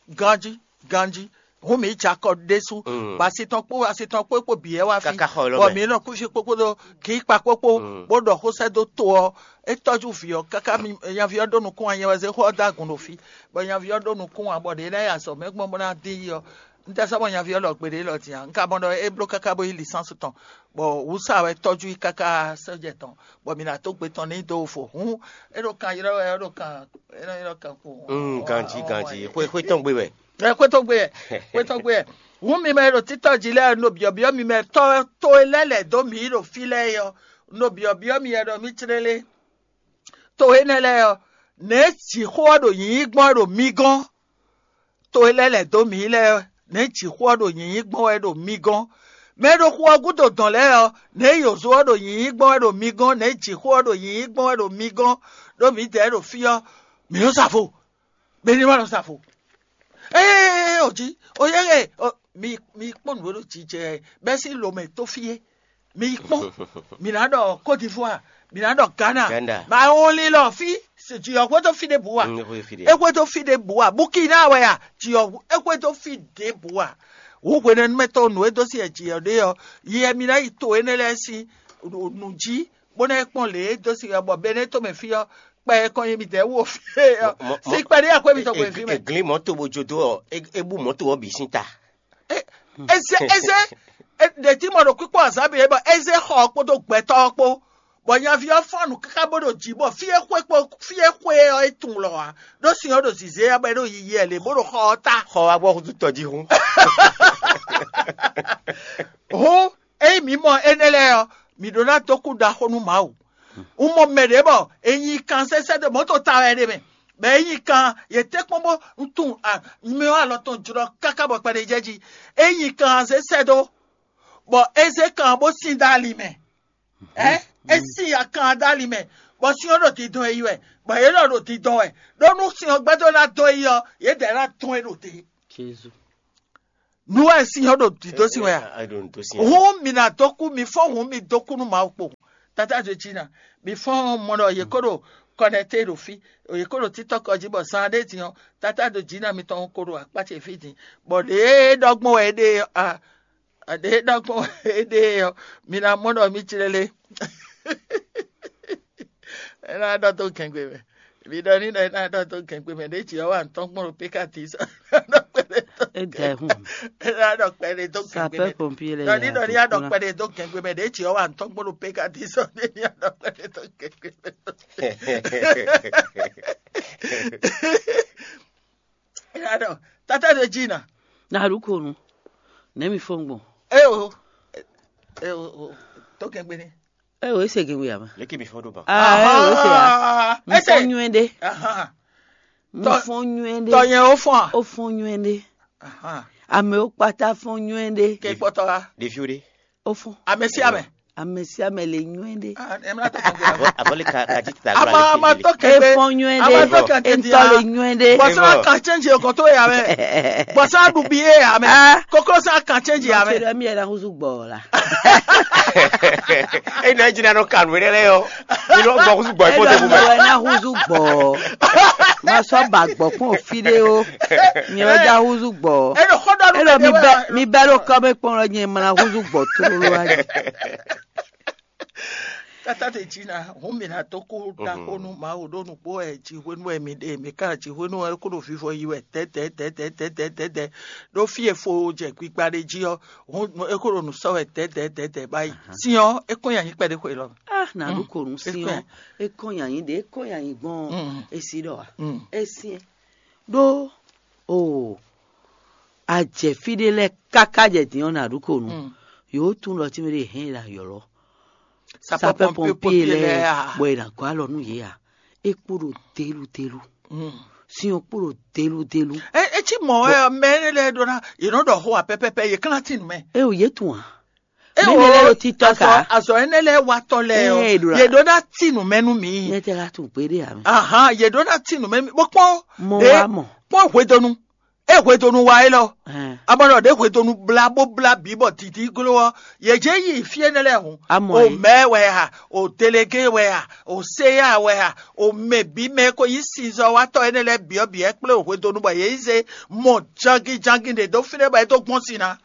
Ganji, ganji. Hun mi dza kɔ ɖésú. Mm. Bɔ asi tɔn kpó asi tɔn kpó kpó bǐ ɛ wá fí. Káká xɔ ɛ lɔ bɔ mɛ. Mi nɔ kúsi kpókpódó kì í kpa kpókpó. Mm. Bó ɖɔ xó sɛ́ dó to ɔ́, é tɔ́jú vǐ ɔ́ káká mi nyaví ɔ́ ɖó nukún anyɛ wɛ zé xó ɔ́ dó agun ɖo fí, bɔ nyaví ɔ́ ɖó nukún ǎ bɔ ɖě ná yi azɔ̌ mɛ gbɔn bó ná dín yi ɔ́. Un tɛ sɔ́ mɔ nyaví ɔ́ lɔ gbeɖé lɔ din ǎ. Un ka mɔ ɖɔ é bló káká bó yí lisánsu tɔn, bɔ wǔsa wɛ tɔ́jú i káká sɔ́jɛ tɔn, bɔ mi ná dó gbe tɔn n'i dó vo. Hǔn é ɖo kan ylɔ́ wɛ, é ɖo kan é nɔ ylɔ́ kan kpo. Mm, ganji, ganji. Xwé, xwé tɔn gbe wɛ. Ɛ xwé tɔn gbe wɛ, xwé tɔn gbe wɛ. Hǔn mi mɛ e ɖo títɔ́ jí lɛ́ɛ, un ɖo byɔ̌byɔ́ mi mɛ tɔ́ to e lɛ́ lɛ̌ dó mǐ ɖo fí lɛ́ɛ é ɔ́, un ɖo byɔ̌byɔ́ mi wɛ ɖɔ mì clélé. To énɛ́ lɛ́ɛ ɔ́, nɛ̌ jǐxó ɔ́ ɖo nyǐnyí gbɔn wɛ ɖo mi gɔ́n? To e lɛ́ lɛ̌ dó mǐ lɛ́ɛ ɔ́, nɛ̌ jǐxó ɔ́ ɖo nyǐnyí gbɔn wɛ ɖo mi gɔ́n? Mɛ e ɖo xu ɔ́ gúdo dɔn lɛ́ɛ ɔ́, nɛ̌ yǒzo ɔ́ ɖo nyǐnyí gbɔn wɛ ɖo mi gɔ́n? Nɛ̌ jǐxó ɔ́ ɖo nyǐnyí gbɔn wɛ ɖo mi gɔ́n? Ɖó mǐdɛɛ ɖo fí ɔ́, mǐ nɔ sa vo, mɛ ní ma nɔ sa vo. Ee, o jí, o yɛ ɛ, mi mi kpɔ́n nǔ e ɖo jijɛ bɛ́ sín lomɛ tó fí é. Mi yi kpɔ́n, mi ná ɖɔ Côte d'Ivoire, mi ná ɖɔ Ghana. Ghana. Ma wɔn lilɔ fí, jiyɔ xwédo fí ɖěbǔ a? Mm, xwé fí ɖé. É xwédo fí ɖěbǔ a? Burkina wɛ a? Jiyɔ é xwédo fí ɖěbǔ a? Wǔ hwenɛ́númɛtɔ́ nǔ e dó sí jiyɔ ɖé ɔ́, yi mi ná yi to énɛ́ lɛ́ɛ sín nǔ jí, bó ná yi kpɔ́n lě e dó sí bɔ Benɛ́ tomɛ fí ɔ́, kpɛ e kɔn nyi midɛɛ wú o fí ɔ́, Mɔ- mɔ- sí kpɛɖé akwɛ́ mitɔn xwé fí mɛ. Glín mɔ̌to bó jó dó ɔ, é- é bú mɔ̌to ɔ́ bǐ sín ta. Eze eze ɖe tí mɔ ɖo kpíkpɔ́ azǎn bǐ é bɔ eze xɔ ɔ́ kpódó gbɛtɔ́ ɔ́ kpó, bɔ nyaví ɔ́ fɔ́n nǔ káká bó ɖo jǐ bɔ fí e xwé kpó fí e xwé ɔ́ é tunwun lɔ ǎ, ɖó sin ɔ́ ɖo zǐzé ɔ́ bɔ é ɖo yiyi ɛ lě bó ɖo xɔ ɔ́ ta. Xɔ wá gbɔ húzú tɔjíhún. Hǔn, ényí mǐ mɔ énɛ́ lɛ́ɛ ɔ́, mǐ ɖó ná dó kú ɖaxó nú Mawu. Un mɔ mɛ ɖě bɔ è nyi kan sɛ́sɛ́ dó mɔ̌ tɔn ta wɛ ɖé mɛ, bɔ é nyi kan yě tɛ́ kpɔ́n bó un tunwun a- myɔ alɔ tɔn jlɔ́ káká bɔ kpɛɖé jɛ jí. É nyi kan zé sɛ́ dó, bɔ é zé kan bó sin dó ali mɛ. Ɛ é sin akan dó ali mɛ, bɔ sin ɔ́ ɖo dindɔn e yi wɛ, bɔ yě lɔ ɖo dindɔn wɛ, ɖó nú sin ɔ́ gbɛdó ná dɔn e yi ɔ́, yědɛɛ ná dɔn e ɖo te. Jezu. Nǔ wɛ sin ɔ́ ɖo dǐdó sin wɛ a? Hǔn mi ná dó kú, mi fɔ́n hǔn mi dó kú nú Mawu kpo. Tata ɖo jí ná, mi fɔ́n mɔ ɖɔ yě kó ɖo kɔnɛté ɖo fí, yě kó ɖo títɔ́ kɔ jí bɔ zan ɖé din ɔ́, tata ɖo jí ná mitɔn ko ɖo akpá ce fí din, bɔ ɖě ɖɔ gbɔn wɛ é ɖe ɔ́, a ɖě ɖɔ gbɔn wɛ é ɖe ɔ́, mi ná mɔ ɖɔ mí clélé. É ná ɖɔ dó gɛngbe mɛ. Mi ɖɔ ní ɖɔ é ná ɖɔ dó gɛngbe mɛ ɖě jǐ ɔ́ wa ntɔ́n gbɔn ɖo pékati sɔ. É da ɛ hun. É ná ɖɔ kpɛɖé dó gɛngbe Sapeur mɛ. Pompier lɛ Ɖɔ ní ɖɔ ní aɖɔ kpɛɖé dó gɛngbe mɛ ɖě jǐ ɔ́ wa ntɔ́n gbɔn ɖo pékati sɔ. Ní ní aɖɔ kpɛɖé dó gɛngbe mɛ. É ná ɖɔ tata ɖo jí ná. Na ɖu ko nu. Ne mi fɔn gbɔn. É o. É o. Tó gɛngbe ní. Ɛ o ese gɛngbe ama. Leke mi fɔ ɖo ban. Aa ɛ o ese ya. Mo fɔ nyuɛ ɖe. Mo fɔ nyuɛ ɖe. Tɔnyɛ o fɔn a? O fɔ nyuɛ ɖe. Ame o kpata fɔ nyuɛ ɖe. Ke kpɔtɔ wa? Ɖeviwo ɖe. O fɔ. Ame si ame. Ame sín ame le nywɛ́ ɖé. Avɔli ka ka jí ta ama ama tó kẹgbẹ. Efɔn nywɛ́ ɖé. Ama tó kẹtẹ di Entɔ le nywɛ́ ɖé. Bɔsɔ kan change ọkàn tó yà mẹ. Bɔsɔ aɖu bi yé yà mẹ. Koklo sɔ kan change yà mɛ. Mɔtò mi yɛ na huzu gbɔ la. Eyi na jina nɔ kanu yɛ lɛ yɔ. Inɔ gbɔ kusu gbɔ ikɔ Eɖɔ tɛ mi kuma. Wɛ na huzu gbɔ. Ma sɔ ba gbɔ kpɔn fi ɖé o. Mi wɛ da huzu gbɔ. Eɖɔ xɔ dɔ Eɖɔ mi bɛ mi bɛ ɖo kɔmɛ kpɔn lɔ nyɛ ma na huzu gbɔ tlolo ayi. Tata te dzi na hun mi na to ko da ko nu Mawu ɖo nukpó ɛ dzi hwenu ɛ mi ɖe mi ka dzi hwenu ɛ ko ɖo vivɔ yi wɛ tɛtɛtɛtɛtɛtɛ ɖo fi e fo jɛ gbigba ɖe dzi ɔ hun e ko ɖo nu sɔ wɛ tɛtɛtɛtɛ ba yi. Sin ɔ e kɔn ya nyi kpɛɖe xwe lɔ. Ah, na ɖu ko nu si ɔ. Ekɔn yanyi ɖe ekɔn yanyi gbɔn. Esi ɖɔ wa. Esi ɖo o. Ajɛ fi ɖe lɛ kaka jɛ din ɔ na ɖu ko nu. Yóò tún ɖɔ tí mi ɖe hɛn la yɔlɔ. Sapeur pompier lɛ bɔ yɛ na gɔ alɔ nu yɛ a. Ekpo ɖo delu delu. Si ɔ kpo ɖo delu delu. Etsi mɔ ɛ mɛ ne lɛ ɖo na yɛ nɔ ɖɔ xo wa pɛpɛpɛ yɛ kla ti nu mɛ. E o yɛ tun a. Mɛ ne lɛ ɖo titɔ ka. Azɔ ɛnɛ lɛ watɔ lɛ ɔ yɛ ɖo na ti nu mɛ nu mi. Ne tɛ la tun gbe ɖe a mɛ. Ahan yɛ ɖo na ti nu mɛ mi bɔ kpɔn. Mɔ wa mɔ. Kpɔn hwedonu. E hwedonu wa élɔ́. Amɔnɔ ɖě hwedonu blá bó blá bǐ bɔ dǐdí gló ɔ́, yě jɛ yi fí énɛ́ lɛ́ɛ hǔn. O mɛ̌ wɛ a? O delegé wɛ a? O séya wɛ a? O mɛ bǐ mɛ e ko nyí sinzɔ́watɔ́ énɛ́ lɛ́ɛ byɔ̌byɔ́ kplé o hwedonu bɔ yě yi zé mɔ jangijangi ɖě dó fínɛ́ bɔ é dó gbɔn sin ná.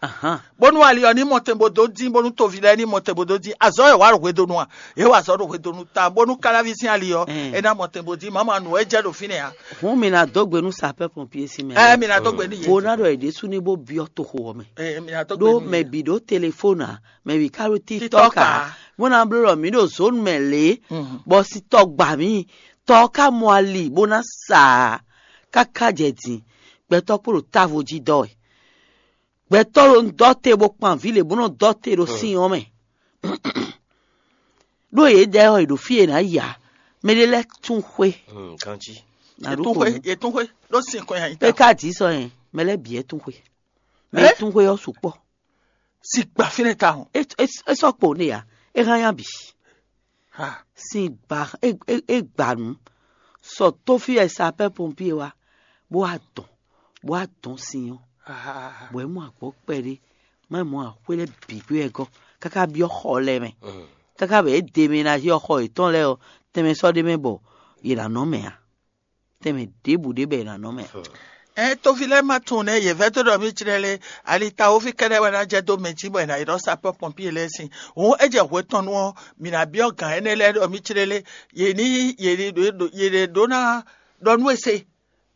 Bónú ali ɔ́ ní mɔ tɛn bó dó dín, bónú toví lɛ́ɛ ní mɔ tɛn bó dó dín. Azɔ̌ wɛ wǎ ɖo hwedonu a? Yě wa azɔ̌ ɖo hwedonu ta, bónú káláví sín ali ɔ́, é ná mɔ tɛn bó dín. Mama nǔ wɛ jɛ ɖo fínɛ́ a? Hǔn mi ná dó gbe nú sapɛ́ pɔnpié sín mɛ. Ɛ mi ná dó gbe n'i. Bó ná ɖɔ yě ɖésú ní bó byɔ́ toxo ɔ́ mɛ. Ɛ mi ná dó gbe Ɖó n'i. Mɛ bǐ ɖó telefóni ǎ, mɛ bǐ ká ɖó TikTok ǎ, bó ná bló ɖɔ mǐ ɖo zǒnu mɛ lě, bɔ sitɔ gbǎ mì, tɔ ɔ́ ká mɔ ali bó ná sa ǎ, káká jɛ din, gbɛtɔ́ kpo ɖo távo jí dɔ wɛ. Gbɛtɔ́ ɖo dɔ te bó kpan vǐ lě bó nɔ dɔ te ɖo sin ɔ́ mɛ. Ɖó yě dɛ ɔ́, è ɖo fí e è nǎ yi ǎ. Mɛ ɖé lɛ́ɛ tún xwé. Ganjí. Yě tún xwé, yě tún xwé ɖó sin kɔn nyi É ta. Ká dǐ sɔ yẹn, mɛ lɛ́ɛ bǐ é tún xwé. Mɛ é tún xwé ɔ́ sukpɔ́. Si gba fínɛ́ tawun. É é é sɔ́ kpo n'i ǎ. É hán yá bǐ. Ha. Sin gba é é é gba nǔ. Sɔ tó fí wɛ sapɛ́ pompié wá, bó wá dɔn, bó wá dɔn sin ɔ́. Ha. Bɔ é mɔ agbɔ̌ kpɛɖé, má mɔ axwé lɛ́ɛ bǐ gbé wɛ gɔ́, káká byɔ́ xɔ lɛ́ɛ mɛ. Káká bɔ é de mɛ ná yɔ xɔ yětɔn lɛ́ɛ ɔ́, tɛnmɛ sɔ́ ɖ'é mɛ bɔ yě ná nɔ mɛ ǎ. Tɛnmɛ ɖěbǔ ɖé bɔ yě ná nɔ mɛ ǎ. Ɛ toví lɛ́ɛ má tunwun nɛ́ yě vɛ́ dó ɖɔ mí jlɛ́ lé, ali tawoví kɛ́ɖɛ́ wɛ ná jɛ dó mɛ jí bɔ è nǎ yi ɖɔ sapɔ́ pɔnpíe lɛ́ɛ sín. Hǔn é jɛ hwetɔ́nu ɔ́, mǐ ná byɔ́ gǎn énɛ́ lɛ́ɛ ɖɔ mí jlɛ́ lé, yě ní yě ní ɖo yě ɖě ɖó ná ɖɔ nú e se,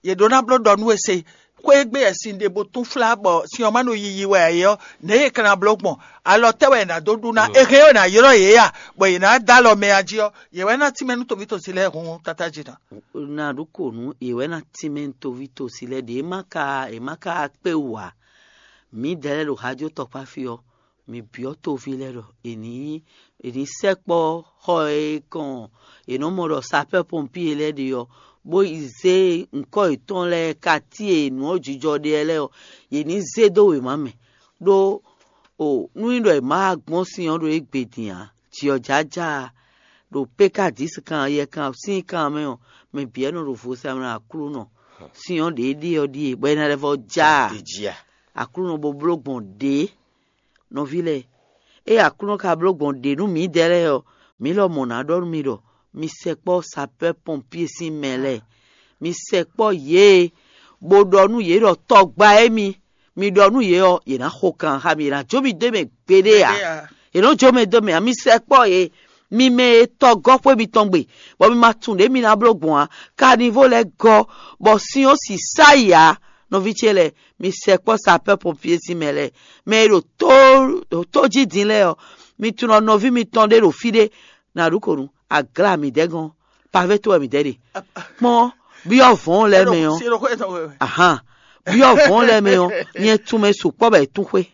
yě ɖó ná bló ɖɔ nú e se. Xwé e gbe wɛ sin ɖe bó túnflá bɔ sin ɔ́ má ɖo yiyi wɛ ǎ é ɔ́, nɛ̌ yě ka ná bló gbɔn? Alɔ tɛ́ wɛ è nǎ dó ɖu ná? È hɛn ɔ́ è nǎ ylɔ́ yě a, bɔ yě ná dó alɔ mɛ a jí ɔ́, yě wɛ ná tínmɛ nú toví tɔn sin lɛ́ɛ hun tátájí ná. Na ɖu kò nú yě wɛ ná tínmɛ nú toví tɔn sin lɛ́ɛ ɖě má ka è má ka kpé wú ǎ. Mǐdɛɛ lɛ́ɛ ɖo hajó tɔkpá fí ɔ́, mǐ byɔ́ toví lɛ́ɛ ɖɔ è nǐ è nǐ sɛkpɔ́ xɔ e kɔn è nɔ mɔ ɖɔ sapɛ́ pɔnpíe lɛ́ɛ ɖe ɔ́, bó yi zé ŋkɔ́ yětɔn lɛ́ɛ katíe nǔ ɔ́ jijɔ ɖe lɛ́ɛ ɔ́, yě ní zé dó wěma mɛ. Ɖó o nú nyí ɖɔ è má wá gbɔn sin ɔ́ ɖo égbé din ǎ, jǐ ɔ́ jájá a, ɖo pékadísi kan yɛkan sín kan mɛ ɔ́, mɛ bǐ wɛ nɔ ɖo vo sa mɛ Aklúnɔ. Sin ɔ́ ɖě ɖíe ɔ́ ɖíe, bɔ é ná lɛ́ vɔ́ já a? Aklúnɔ bo bló gbɔn ɖě. Nɔví lɛ́ɛ, ée Aklúnɔ ka bló gbɔn ɖě nú mǐdɛɛ lɛ́ɛ ɔ́, mǐ lɔmɔ̌ ná ɖɔ nú mi ɖɔ mi sɛkpɔ́ sapɛ́ pɔnpíe sín mɛ lɛ́ɛ. Mi sɛkpɔ́ yě, bó ɖɔ nú yě ɖɔ tɔgba émi, mi ɖɔ nú yě ɔ́, yě ná xo kan xá mi, yě ná jó mi dó mɛ gbeɖé ǎ. Yě nɔ jó mɛ dó mɛ ǎ, mi sɛkpɔ́ yě, mi mɛ e tɔgɔ́ xwé mitɔn gbe, bɔ mi ma tunwun ɖě mi ná bló gbɔn ǎ. Kanivo lɛ́ɛ gɔ́, bɔ sin ɔ́ sisá yi ǎ. Nɔví ce lɛ́ɛ, mi sɛkpɔ́ sapɛ́ pɔnpié sín mɛ lɛ́ɛ, mɛ e ɖo tó tó jí din lɛ́ɛ ɔ́, mi tunɔ nɔví mitɔn ɖé ɖo fí ɖé, na ɖu kò nu, aglá mi dɛ́ gɔ́n, pavé tó wɛ mi dɛ́ ɖe. Kpɔ́n, byɔ́ vɔ̌n lɛ́ɛ mɛ ɔ́, ahan, byɔ́ vɔ̌n lɛ́ɛ mɛ ɔ́, nyɛ tún mɛ sukpɔ́ bɔ è tún xwé.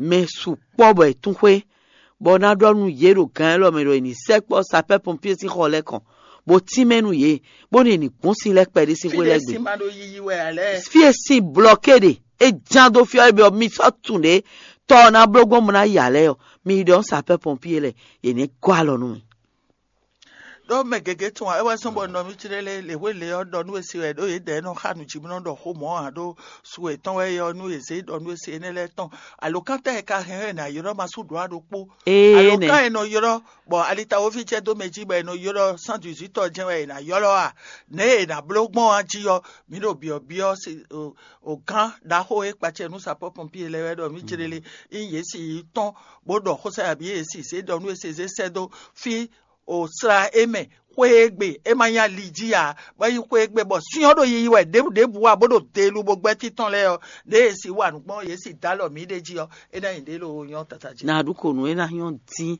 Mɛ sukpɔ́ bɔ è tún xwé, bɔ ná ɖɔ nú yě ɖo gǎn élɔ́ mɛ ɖɔ è nǐ sɛkpɔ́ sapɛ́ pɔnpié sín xɔ lɛ́ɛ kɔn, bó tínmɛ nú yě, bónú è nǐ gbɔn sin lɛ́ɛ kpɛɖé sín xwé lɛ́ɛ gbe. Fí e sin blɔké ɖe, é ján dó fí ɔ́, é byɔ́ mi sɔ́ tunwun ɖě tɔ ɔ́ ná bló gbɔn bó ná ya lɛ́ɛ ɔ́, Mi yi ɖɔ sapɛ́ pɔnpie lɛ, yě nɛ́ gɔ́ alɔ nú mi. Ɖó mɛ gěgé tún ǎ, é wɛ zɔ́n bɔ nɔ mì clé lé lě hwé lě ɔ́ ɖɔ nú we se wɛ ɖó yědɛɛ nɔ xa nǔ jí bó nɔ ɖɔ xó mɔ̌ ǎ ɖó su yětɔn wɛ é ɔ́ nú yě zé ɖɔ nú we se énɛ́ lɛ́ɛ tɔn. Alǒkan tɛ́ e ka hɛn wɛ è nǎ ylɔ́ ma sú ɖǒ ǎ ɖokpó? Énɛ́. Alǒkan e nɔ ylɔ́ bɔ alitawoví jɛ dó mɛ jí bɔ è nɔ ylɔ́ cent dix-huit ɔ́ jɛ́n wɛ è nǎ ylɔ́ a? Nɛ̌ e è nǎ bló gbɔn a jí ɔ́, mǐ ɖo byɔ̌byɔ́ o gán ɖaxó e kpacɛ nú sapɔ́ pɔnpíe lɛ́ɛ wɛ ɖɔ mǐ céɖélé nyí yě si yi tɔ́n bó ɖɔ xósa yabǐ e si zé ɖɔ nú e se zé sɛ́ dó fí o sla é mɛ xwé e gbe é ma nyí ali jí ǎ, bɔ é nyí xwé e gbe bɔ syɔ́n ɖo yiyi wɛ ɖěbǔ ɖěbǔ ǎ bó ɖo delu bó gbɛ́ títɔn lɛ́ɛ ɔ́, ɖěe è si wa nǔ gbɔn yě si dó alɔ mǐ ɖ'é jí ɔ́, é ná nyí ɖě loo nyɔ́ tata jí. Nǎ ɖu kǒ nú é ná nyɔ́ dín,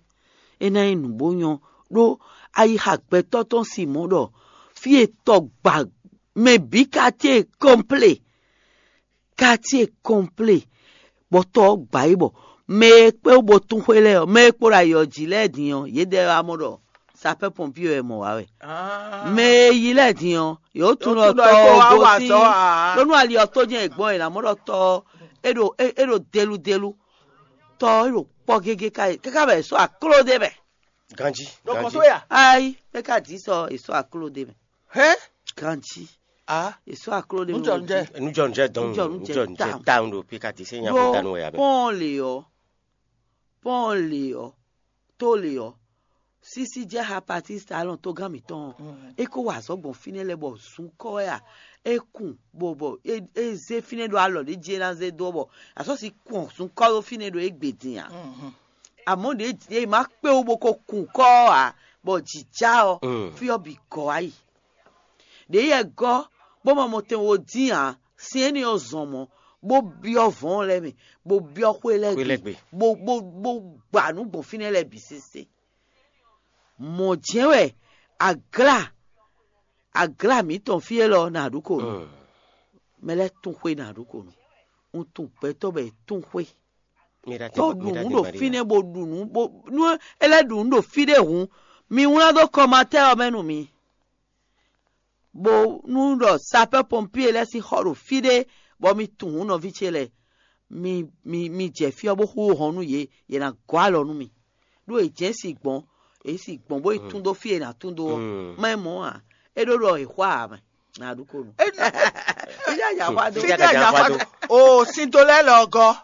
é ná nyí nǔ bó nyɔ́, ɖó ayixa gbɛtɔ́ tɔn si mɔ̌ ɖɔ fí e tɔgba mɛ bǐ ka ce kɔnplé. Katíe kɔnplé, bɔ tɔ ɔ́ gbǎ yi bɔ mɛ e kpé wú bó tún xwé lɛ́ɛ ɔ́, mɛ e kpo ɖo ayǐ ɔ́ jí lɛ́ɛ din ɔ́, yědɛɛ wá mɔ ɖɔ sapɛ́ pɔnpíe wɛ mɔ wǎ wɛ. Mɛ e yi lɛ́ɛ din ɔ́, yě wó tún ɖɔ tɔ ɔ́ gosín, ɖó nú ali ɔ́ tó jɛ́n è gbɔn è nǎ mɔ ɖɔ tɔ ɔ́, é ɖo é ɖo deludelu, tɔ ɔ́ é ɖo kpɔ́ gégé káká bɔ è sɔ́ akló ɖé mɛ. Ganjí. Ɖo kɔsó ya. Ayi, é ka dǐ sɔ è sɔ́ akló ɖé mɛ. Hɛn. Ganjí. A. È sɔ́ akló ɖé mɛ. Nujɔnjɛ. Nujɔnjɛ dɔn. Nujɔnjɛ tawun ɖo pika ti se nya ko danu ya bɛ. Pɔn le ɔ. Pɔn le ɔ. Tó le ɔ. Sísí jẹ́ hapatista alɔn tó gán mǐtɔn. É kó wa azɔ̌ gbɔn fínɛ́ lɛ bɔ zun kɔ wɛ a. É kun bɔ bɔ é zé fínɛ́ ɖo alɔ ɖě jí é ná zé dó bɔ asɔ́si kun zun kɔ ɖó fínɛ́ ɖo égbé din a. Amɔ̌ ɖě ɖě ma kpé wú bó ko kun kɔ́ ɔ́ ǎ, bɔ jǐ já ɔ́, fí ɔ́ bǐ gɔ́ wá yi. Ɖě yɛ gɔ́ bó ma mɔ tɛn wo dín ǎ, sin énɛ́ ɔ́ zɔn mɔ̌, bó byɔ́ vɔ̌ɔn lɛ́ɛ mɛ, bó byɔ́ xwé lɛ́ɛ gbe, bó bó bó gba nǔ gbɔn fínɛ́ lɛ́ɛ bǐ sésé. Mɔ̌ jɛ́n wɛ aglá aglá mǐtɔn fí élɔ́ ná ɖu kò nú. Mɛ lɛ́ɛ tún xwé ná ɖu kò nú. Un tunwun gbɛtɔ́ bɔ è tún xwé. Tó ɖu nǔ ɖo fínɛ́ bó ɖu nǔ bó nú é lɛ́ ɖu nǔ ɖo fí ɖé hǔn, mi wlán dó kɔmatɛ́ ɔ́ mɛ nú mi. Bó nú ɖɔ sapɛ́ pɔnpíe lɛ́ɛ sín xɔ ɖo fí ɖé, bɔ mi tunwun nɔví ce lɛ́ɛ, mi mi mi jɛ fí ɔ́ bó xú hɔn nú yě, yě ná gɔ́ alɔ nú mi. Ɖó è jɛ̌n si gbɔn, è si gbɔn bó yi tún dó fí e è nǎ tún dó ɔ́, má nyí mɔ̌ ǎ. É ɖó ɖɔ è xwá ǎ mɛ, nǎ ɖu ko nú. Fí ɖé a jǎ xwá dó? Fí ɖé a jǎ xwá dó? O sin do lɛ́ɛ lɔ gɔ́.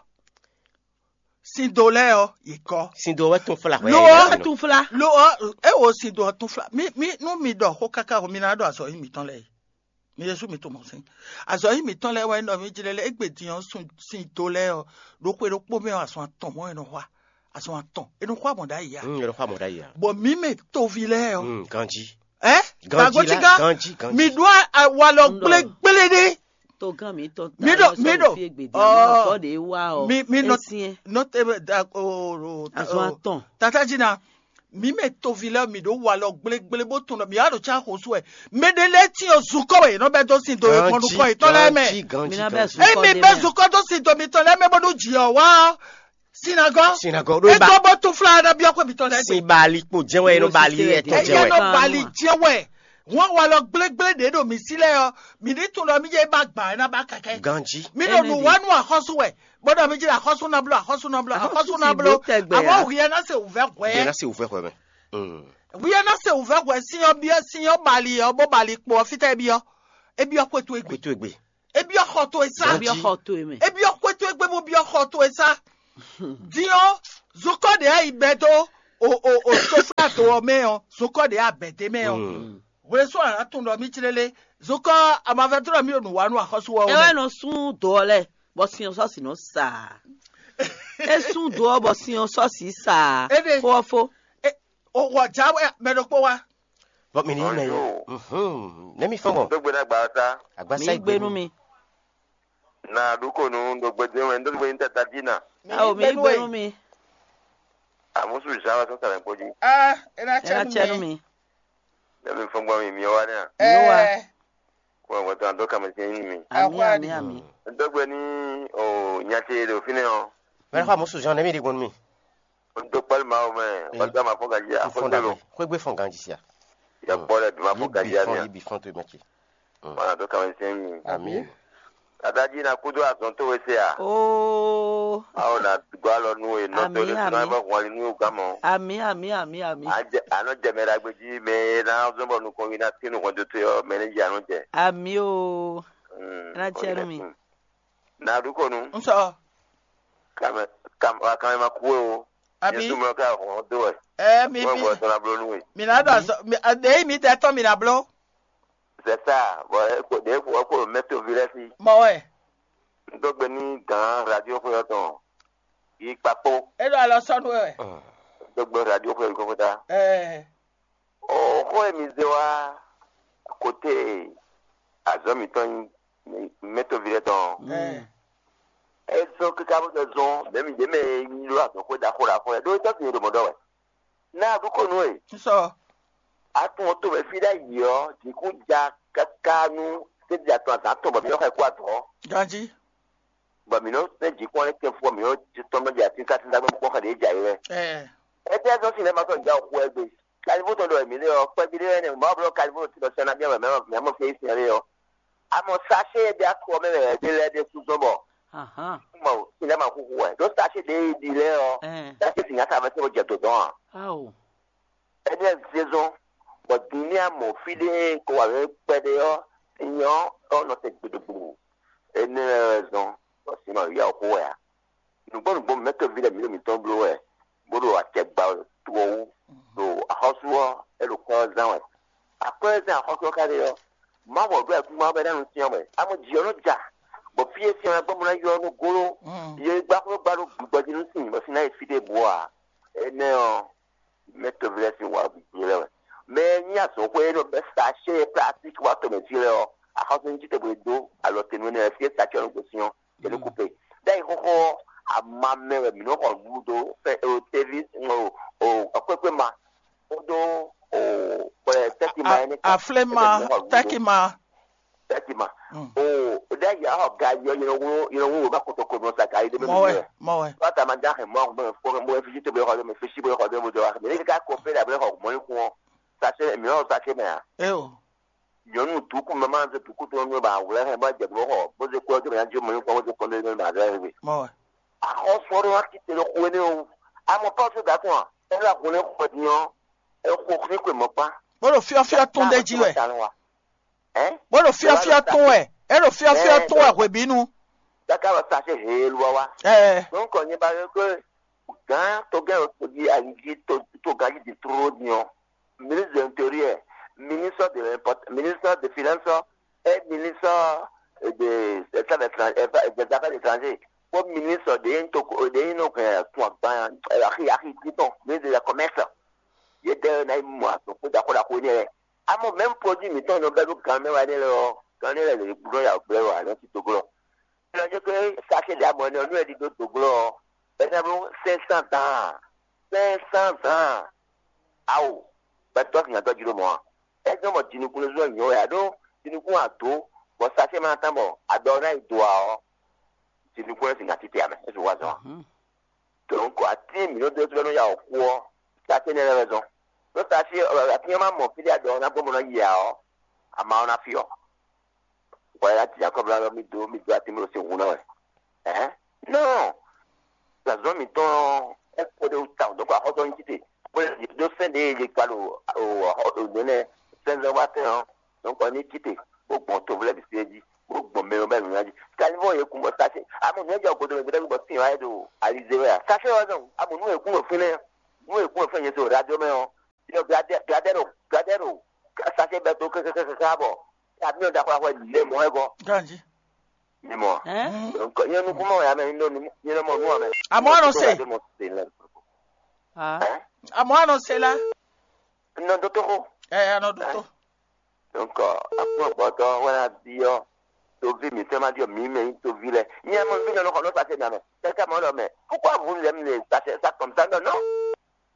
Sin do lɛ́ɛ ɔ́, yě gɔ́. Sin do wɛ tún fla hwɛ. Lo ɔ́ tún fla. Lo ɔ́, é wo sin do ɔ́ tún fla. Mi mi nú mi ɖɔ xó káká o, mi ná ɖɔ azɔ̌ nyi mǐtɔn lɛ́ɛ. Mi Jezu mi tunwun sin. Azɔ̌ nyi mǐtɔn lɛ́ɛ wɛ nɔ mi jlɛ́ lɛ́ɛ égbé din ɔ́, sin do lɛ́ɛ ɔ́, ɖo xwe ɖokpó mɛ ɔ́, azɔn atɔn mɔ̌ wɛ nɔ xwa. Azɔn atɔn. È nɔ xwa mɔ̌ ɖ'ayǐ a? Mm, è nɔ xwa mɔ̌ ɖ'ayǐ a? Bɔ mǐ mɛ toví lɛ́ɛ ɔ́. Mm, ganjí. Ɛ? Ganjí la, ganjí, ganjí. Mi ɖó awalɔ gblégblé ɖé. Togán mi tɔn mi ɖo mi ɖo fi egbede, ɔ, amɔ tɔ de wa ɔ. Mi mi nɔ nɔ tebe da o o azɔn atɔn. Tata jí na. Mi mɛ toví lɛ mi ɖo walɔ gblégblé bó tɔn nɔ mi wá ɖo cá xo sú ɛ. Mɛ ɖe lɛ ti o zukɔ wɛ nɔ bɛ dó sin do e kɔn nukɔ etɔn lɛ mɛ. Ganjí, ganjí, ganjí. Emi bɛ zukɔ de mɛ. Zukɔ dó sin do mi tɔn lɛ mɛ bó ɖo jì ɔ wá. Sinagɔ. Sinagɔ ɖo e ba gbɔ bó tún fla na biɔ kó mi tɔn lɛ. Sin bali kpo jɛ wɛ, nɔ bali etɔn jɛ wɛ. Nɔ bali jɛ wɛ. Wọn walɔ gblégblé ɖě ɖo mǐ sí lɛ́ɛ ɔ́, mǐ ní tunwun ɖɔ mí jẹ́ bá gbǎ ná bá kɛkɛ. Ganjí. Mí ɖo nǔ wá nú axɔ́sú wɛ, bó ɖɔ mí jẹ́ axɔ́sú ná bló, axɔ́sú ná bló, axɔ́sú ná bló. Àwọn hùyẹ ná se wùvẹ́ hwẹ́. Yẹn ná se wùvẹ́ hwẹ́ mɛ. Hùyẹ ná se wùvẹ́ hwẹ́, sínyọ́ bí sínyọ́ bali ɔ́, bó bali kpo ɔ́, fítɛ́ byɔ́. É byɔ́ xwétu égbé. Xwétu égbé. É byɔ́ xɔ towe sá. Byɔ́ xɔ towe mɛ. É byɔ́ xwétu égbé bó byɔ́ xɔ towe sá. Din ɔ́, zokɔ ɖě a yi bɛ́ dó o o o soflato ɔ́ mɛ ɔ́, zokɔ ɖě a bɛ́ dé mɛ ɔ́. Hwlɛ́sɔ́ a nǎ tunwun ɖɔ mí clélé. Zokɔ amavɛ́ tlɔ́ mí ɖo nǔ wa nú axɔ́sú ɔ́. É wɛ nɔ sún dǒ ɔ́ lɛ́ɛ, bɔ sin ɔ́ sɔ́ sǐ nɔ sa. É sún dǒ ɔ́ bɔ sin ɔ́ sɔ́ sǐ sa. Éɖe. Fó ɔ́ fó. O wɔ dza wɛ mɛ ɖokpó wá. Bɔ mi ní mɛ yɛ. Nɛ́ mi fɔ́n gbɔn? Dó gbe ná gba ɔ́ sá. Agbasa mi gbé nú mi. Na ɖu ko nu ɖo gbede wɛ ndo gbe yin tata dzi na. Awo mi gbé nú mi. Amusu zan wa sɔn sɛnɛ kpɔdzi. Ah, ena Ena tsɛ nú mi. Dɛbi fɔn gbɔ mi mi wa ne. Yóò wá. Ɛ Kɔ gbɔtɔ an dɔ kame tiɲɛ yin mi. Ami, ami, ami. Ndo gbe ni o nyati ɖo fine o. Mɛ xɔ amusu zan ne mi ɖi gbɔn mi. Ndo kpali ma o mɛ. Wata ma fɔ gaji a fɔ gbɛ lo. Xwegbe fɔn ganji sia. Ya kpɔ lɛ bi ma fɔ gaji a mi. Yi bi fɔn to mɛ ce. Mana dɔ kame tiɲɛ yin. Ami. Adaji na kudo azɔn to we se a. Oh. Awo na gɔ́ alɔ nú we, nɔ to Amì, ɖé sínú amì. Abɔ hɔn ali nú we gán mɔ. Amì, amì, amì, amì. Anɔ jɛ mɛ ɖagbe jí mɛ e ná zɔn bɔ nukɔn wi ná tín nukɔn tó tó yɔ mɛ ní dzi anɔ jɛ. Amì o. Mm, Ná tiɛ nú mi. Na ɖu ko nu. Ŋutɔ. Kame kame kame ma kú o. Abi. Yesu mɔ ká hɔn dó wɛ. Ɛ mi Wọ́n bi. Gbɔ tɔn na bló nú we. Mi na ɖo azɔ mi ɖe yi mi tɛ tɔn mi na bló. C'est ça. Bon, eko ɖe ko ko mɛ to vi lɛ si. Mɔ wɛ. N dó gbe ní gǎn radio xwe ɔ́ tɔn. Yi kpakpo. E ɖo alɔ sɔnu wɛ. N dó gbe radio xwe ɔ́ kɔkɔta. Ɛɛ. O xó e mi zé wá kote azɔ̌ mǐtɔn nyí mɛ to vi lɛ́ɛ tɔn. Ɛɛ. É zɔ́n kíká bó zɔ́n zɔ́n mɛ̌ mi ɖě mɛ e nyi ɖó azɔ̌ xwé ɖaxó ɖaxó lɛ́ɛ ɖó é tɔ́ sin e ɖo mɔ̌ ɖɔ wɛ. Ná a ɖu kó nú e. Nsɔ. A tún ɔ tomɛ fí ɖ'ayǐ ɔ́, jǐkún ja káká nú sédí atɔn azǎn tɔn bɔ mǐ nɔ xɔ ɛ kó adɔ̌. Ganjí. Bɔ mǐ nɔ sɛ́ jǐkún ɔ́ lɛ́ kɛ́n fú ɔ́, mǐ nɔ tɔn nɔ jɛ atínkátíntá gbɛ́ kpɔ́n xɛ ɖě jǎ é wɛ. Ɛɛ. Étɛ́ zɔ́n sin lɛ́ɛ ma sɔ́ ja xú wɛ gbe? Kalivó tɔn ɖɔ mǐ ɖe ɔ́, kpɛ́ví ɖé wɛ nɛ́, Mawu bló kalivó ɖo tínɔ sɛ́ ná byɔ́ wɛ mɛ̌ mɛ fí sín lé ɔ́. Amɔ sáṣé e ɖe akɔ mɛ wɛ ɖé lɛ́ɛ ɖésú zɔ́n bɔ Ahán. Mɔ sin lɛ́ɛ ma xúxú wɛ. Ɖó sáṣé ɖě e ɖi lɛ́ɛ ɔ́, Ɛn. Sáṣé sin nyaka mɛ tɔn jɛ dǒdɔn ǎ. Ao. Énɛ́ zé zɔ́n, bɔ din ní a mɔ fí ɖé e ko wǎ mɛ kpɛɖé ɔ́, nyɔ ɔ́ nɔ te gbeɖogbo. Énɛ́ lɛ́ɛ wɛ zɔ́n, bɔ sin ma yá wǔ xo wɛ ǎ. Nǔgbó nǔgbó mɛ̌ tɔ́ví lɛ́ɛ mǐ ɖo mǐtɔn bló wɛ, bó ɖo acɛ gba wɛ to ɔ́ wú, ɖo axɔ́sú ɔ́, é ɖo kwɛ́ ɔ́ zán wɛ. Akwɛ́ e zán axɔ́sú ɔ́ ka ɖe ɔ́, Mawu ɔ́ ɖó ayǐkúngban ɔ́ bɔ é ná nu cyɔ́n wɛ. Amɔ jǐ ɔ́ nɔ ja, bɔ fí e cyɔ́n ɛ gbɔn bó ná ylɔ́ nú góló, yě gbá xwé gbá ɖó gbǐgbɔ jí nú sin, bɔ sin ná yi fí ɖěbǔ ɔ́ ǎ. Énɛ́ ɔ́, mɛ̌ tɔ́ví lɛ́ɛ sín wǎ bǐ lɛ́ɛ wɛ. Mɛ e nyí azɔ̌xwé e nɔ bɛ́ sachet e plastique wá tɔn mɛ jí lɛ́ɛ ɔ́, axɔ́súnújíte bwe dó alɔ te nú énɛ́ lɛ́ɛ fí e sachet ɔ́ nɔ gosín ɔ́, é ní kú pe. Ɖ'ayǐ xóxó ɔ́, ama mɛ wɛ mǐ nɔ xɔ nǔɖuɖu dó, fɛ o teví o o ɔkwékwe ma kpódó o kplɛ tɛ́ki ma A- énɛ́ kpó. Aflé ma, Mǐ nɔ xɔ nǔɖuɖu dó. Tɛ́ki ma. Tɛ́ki ma. Mm. O ɖ'ayǐ axɔ gayi ɔ́, yɛlɛ wúlò yɛlɛ wúlò bá kotoko nɔ sa gayi ɖé mɛ Mɔ wɛ, mɛ. Mɔ wɛ. Bá ta ma dá hɛn mɔ mɔ fɔ mɔ fisi tó bɛ xɔ dó mɛ fisi bɛ xɔ dó mɛ dó wa mɛ ní ká kó fɛ dà bɛ xɔ mɔ ní kún ɔ́. Sase mǐ ɔ́ sase mɛ a? É o. Nyɔnu dukú mɛ ma zɛ dukú tó nɔ ba wlɛ hɛn bá jɛ bɔ xɔ bó zɛ kó ɔjɔ mɛ ná jó mɔ ní kún ɔ́ bó zɛ kó ndé mɛ ma zɛ hɛn. Mɔ wɛ. Axɔ́sú ɔ́ ɖó ná kíte ɖo xwe nɛ́ o. Amɔ Pɔ́lu da tɔn a? É ɖo axwe nɛ́ xɔ din ɔ́, é xo xwé xwe mɔ̌ kpán. Bó ɖo fyɔ́fyɔ́ tún ɖé jí wɛ. Ɛ? Bó ɖo fyɔ́fyɔ́ tún wɛ. É ɖo fyɔ́fyɔ́ tún wɛ hwebǐnu. Káká lɔ sa ṣe heelu wá wá. Ɛ. Donc nyɛ ba yɔ pé gán togán yɔ to di ali jí to to gán jí di tlóló din ɔ́. Ministre de l'intérieur, ministre de l'import, ministre de finance, et ministre de des affaires étrangères, des affaires étrangères, kpó ministre de yin toko de yin no hɛn tun agban axi axi titɔn, ministre de la commerce. Yě dɛ ná yi mɔ azɔn kpó ɖaxó ɖaxó énɛ́ lɛ́ɛ. Amɔ mɛ̌m produit mǐtɔn nɔ bɛ́ ɖó gan mɛ wá énɛ́ lɛ́ɛ ɔ́, gan énɛ́ lɛ́ɛ lě ɖo ya gblɛ́ wá nɔ sí toglɔ. Lɔ jɛ kpé sachet ɖe amɔ ɛnɛ ɔ́, nú ɛ ɖi dó doglɔ ɔ́, é ná bló cinq cents dan. Cinq cents dan. Awo, gbɛtɔ́ sin adɔ́ jí ɖó mɔ̌ a? É jɔ mɔ jinukún lé zɔ́ nyɔ̌ wɛ a ɖó jinukún ado, bɔ sachet ma ná tán bɔ adɔ ɔ́ ná yi do ǎ ɔ́, jinukún lɛ́ sin ná títí amɛ, é su wá zɔn a? Mhm. Donc atín mǐ nɔ dó tlɔ́ nú ya wɔ kú ɔ́, sachet nɛ́ lɛ́ wɛ zɔn. Ɖó sachet atín ɔ́ ma mɔ fí ɖé adɔ ɔ́ ná gbɔn bó ná yi ǎ ɔ́, ama ɔ́ ná fyɔ́. Bɔ ya ti Jacob la mi do mi do ati mi ɖo sin hun na wɛ. Ɛhɛn. Non. Zazɔn mi tɔn ɛ kɔ ɖe ta donc akɔtɔ nyi tite. Bɔ ye do sɛn de ye kpa ɖo o o nɛnɛ sɛnzɛn wa tɛn ɔ. Donc ni tite. Bo gbɔn to vlɛ bi se ji. Bo gbɔn mɛ bɛ nuna ji. Kali bɔ ye kun bɔ sase. Amu nɛ jɔ godo mi gbɛdɛ bɔ sin wa ye do alize wɛ. Sase wa dɔn. Amu nu ye kun bɔ fɛnɛ. Nu ye kun bɔ fɛnɛ ye so radio mɛ ɔ. Yɔ gladɛ gladɛ ro gladɛ ro. Sase bɛ to kɛkɛkɛkɛ bɔ. Camion ɖaxó ɖaxó lě mɔ wɛ gɔ́. Ganji. Mi mɔ. Hein? Donc, nyɛ nukunmɔ ya mɛ nyɛ nɔ nyɛ nɔ mɔ nu amɛ. Àmọ́ àná ṣe. Nyɛ nɔ mɔ se lɛ. Ah. Hein? Àmọ́ àná ṣe la. Nɔ dó tó xó. Ɛ àná dó tó. Donc akpɔ gbɔtɔ wɛrɛ bi yɔ. Tovi mi fɛn ma di yɔ mi mɛ yin tovi lɛ. Nyɛ mɔ vi nɔ nɔ xɔ nɔ sa se na mɛ. Kɛkɛ mɔ lɔ mɛ. Pourquoi vous l'aimez ça c'est ça comme ça non non.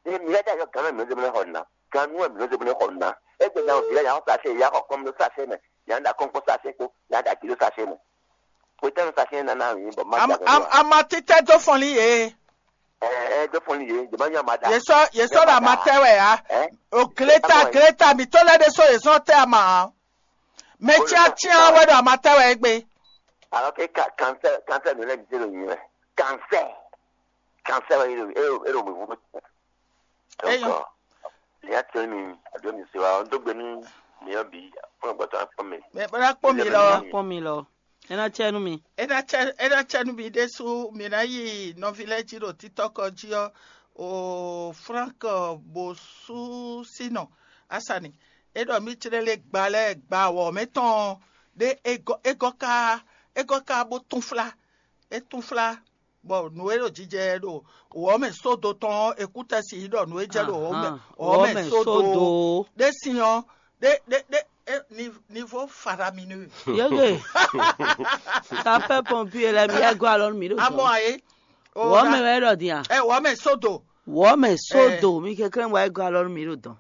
Emi lɛ́ ɖ'ayǐ ɔ́, gǎn mɛ mǐ nɔ zé bó nɔ́ xɔ nǔ ná. Gǎn nú wɛ mǐ nɔ zé bó nɔ́ xɔ nǔ ná. Égbé nya vǐ lɛ́ɛ nya xɔ sachet, ya xɔ kɔn ɖó sachet mɛ, nya ɖo akɔ́nkpɔ́n sachet kpó, nya ɖo agǐ ɖó sachet mɛ. Hwetɛ́nu sachet nana mǐ bɔ má Am- ja am- Amatitɛ dó fɔnlí yě. Ɛ ɛ dó fɔnlí yě, jɛ má nya ma ɖa. Yě sɔ́ yě sɔ́ ɖo amatɛ wɛ ǎ. Ɛ O Gleta Gleta mǐtɔn lɛ́ɛ ɖésú yě sɔ́ tɛ ama ǎ. Mɛ cyácyá wɛ ɖo amatɛ wɛ égbé. Alors que cancer cancer nǔ lɛ́ɛ bǐ zé ɖo nyǐ wɛ. Cancer. Cancer wɛ é ɖo é ɖo é ɖo wěwú mɛ. Donc, Eyɔn. Nya tɛ mi aɖo mi se wa ɔn dó gbe nú miyɔn bǐ fún agbata kpɔn mɛ. Mɛ bó ná kpɔ́n mi lɔ. Kpɔ́n mi lɔ. É ná cɛ nú mi. É ná cɛ é ná cɛ nú mi ɖésú mi ná yi nɔví lɛ́ɛ jí ɖo títɔ́kɔ jí ɔ́, o Frank Bosusino Asani. É ɖɔ mí clé lé gba lɛ́ɛ gba wɔ̌ mɛ tɔn ɖé é gɔ́ é gɔ́ ká é gɔ́ ká bó túnflá. É túnflá bɔ nǔ e ɖo jijɛ ɖo wɔ̌ mɛ sódo tɔn ɔ́, è kú tɛ́ si ɖɔ nǔ e jɛ ɖo wɔ̌ mɛ Ahan. Wɔ̌ mɛ Wɔ̌ mɛ sódo sódo. Ɖé sin ɔ́, ɖé ɖé ɖé é, ni- niveau faramineux. Yege. Sapeur pompier lɛ mi yɛ gɔ́ alɔ nú mi ɖo Amɔ dɔn. Ayé. Wɔ̌ mɛ wɛ ɖɔ din a? Ɛ wɔ̌ mɛ sódo. Wɔ̌ mɛ sódo mi kɛkɛ́ wɛ gɔ́ alɔ nú mi ɖo dɔn.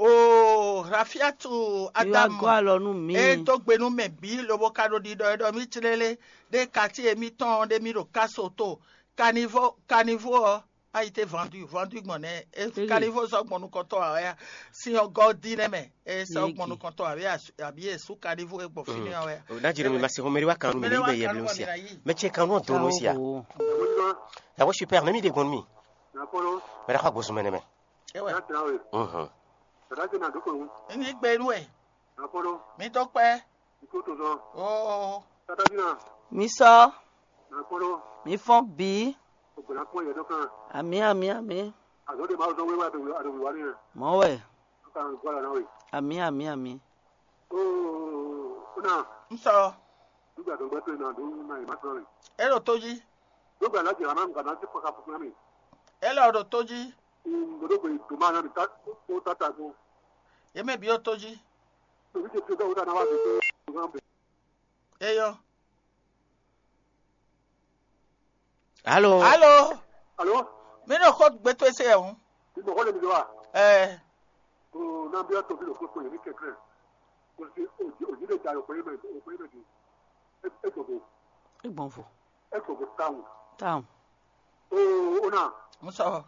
O Rafiatu Mi wá Adamu. Gɔ́ alɔ nú mi. E dó gbe nú mɛ bǐ lobo ka ɖo ɖiɖɔ e ɖɔ mí clélé ɖé kati e mítɔn ɖé mí ɖo káso to kanivo kanivo ɔ́. Ayi te vendu vendu gbɔn nɛ e Eye. Kanivo sɔ gbɔn nukɔntɔ awɛ ya sin ɔgɔ di nɛ mɛ e sɔ Eye. Gbɔn nukɔntɔ awɛ ya abi e su kanivo e gbɔn fini awɛ ya. Nadzi ɖo mi ma se xɔmɛ ɖé wá kan nú mi Mɛɖé ní wá gbɛ yɛ kan blu nú sia. Mɛ ce kan nú ɔdun nú sia. Awo. Yawo super ne mi ɖe gbɔn nú mi. Nakolo. Mɛ ɖe xɔ agbosùn mɛ nɛ mɛ. Ewɛ. Yatirawe. Mhm. Tata ce na doko wu. Ní gbé nú ɛ. Nakolo. Mi tó kpɛ. Iko to zɔ. Oo. Tata ce na. Mi sɔ. Nakolo. Mi fɔn bǐ. Ogbona kpɔn yɛ dɔ kan. Ami ami ami. Azɔ de ma zɔ wewe ado ado wa ni. Mɔ wɛ. Kan gwa la na we. Ami ami ami. Oo. Una. N sɔ. Nígbà tó ń gbẹ́ tó iná ló ń na ìmá tán rẹ̀. E ɖo tó jí. Nígbà láti rà máa ń gbà láti pàkà fún mi. E lɔ ɖo tó jí. Gbọdọ̀ pé tó máa ná mi tá ó tata kó. Yé mɛ bí ó tó jí. Tòbí ṣe fi dọ́wọ́ dáná wá sí pé ó máa ń bẹ̀. Eyɔ. Alo. Alo. Alo. Mi ɖo xɔ gbɛtɔ ese yɛ ŋu. Ìgbọ̀kọ́ lè mi lọ wa. Ɛɛ. Ko n'an bí ɔtɔ bí lọ kó kpɔn yẹn ní kẹ̀kẹ́. Kò sí òjì òjì lè jà lọ pé mẹ pé mẹ di. E gbọ̀gbọ̀. Egbɔn vo. E gbọ̀gbọ̀ táwọn. Táwọn. O o na. N sɔ.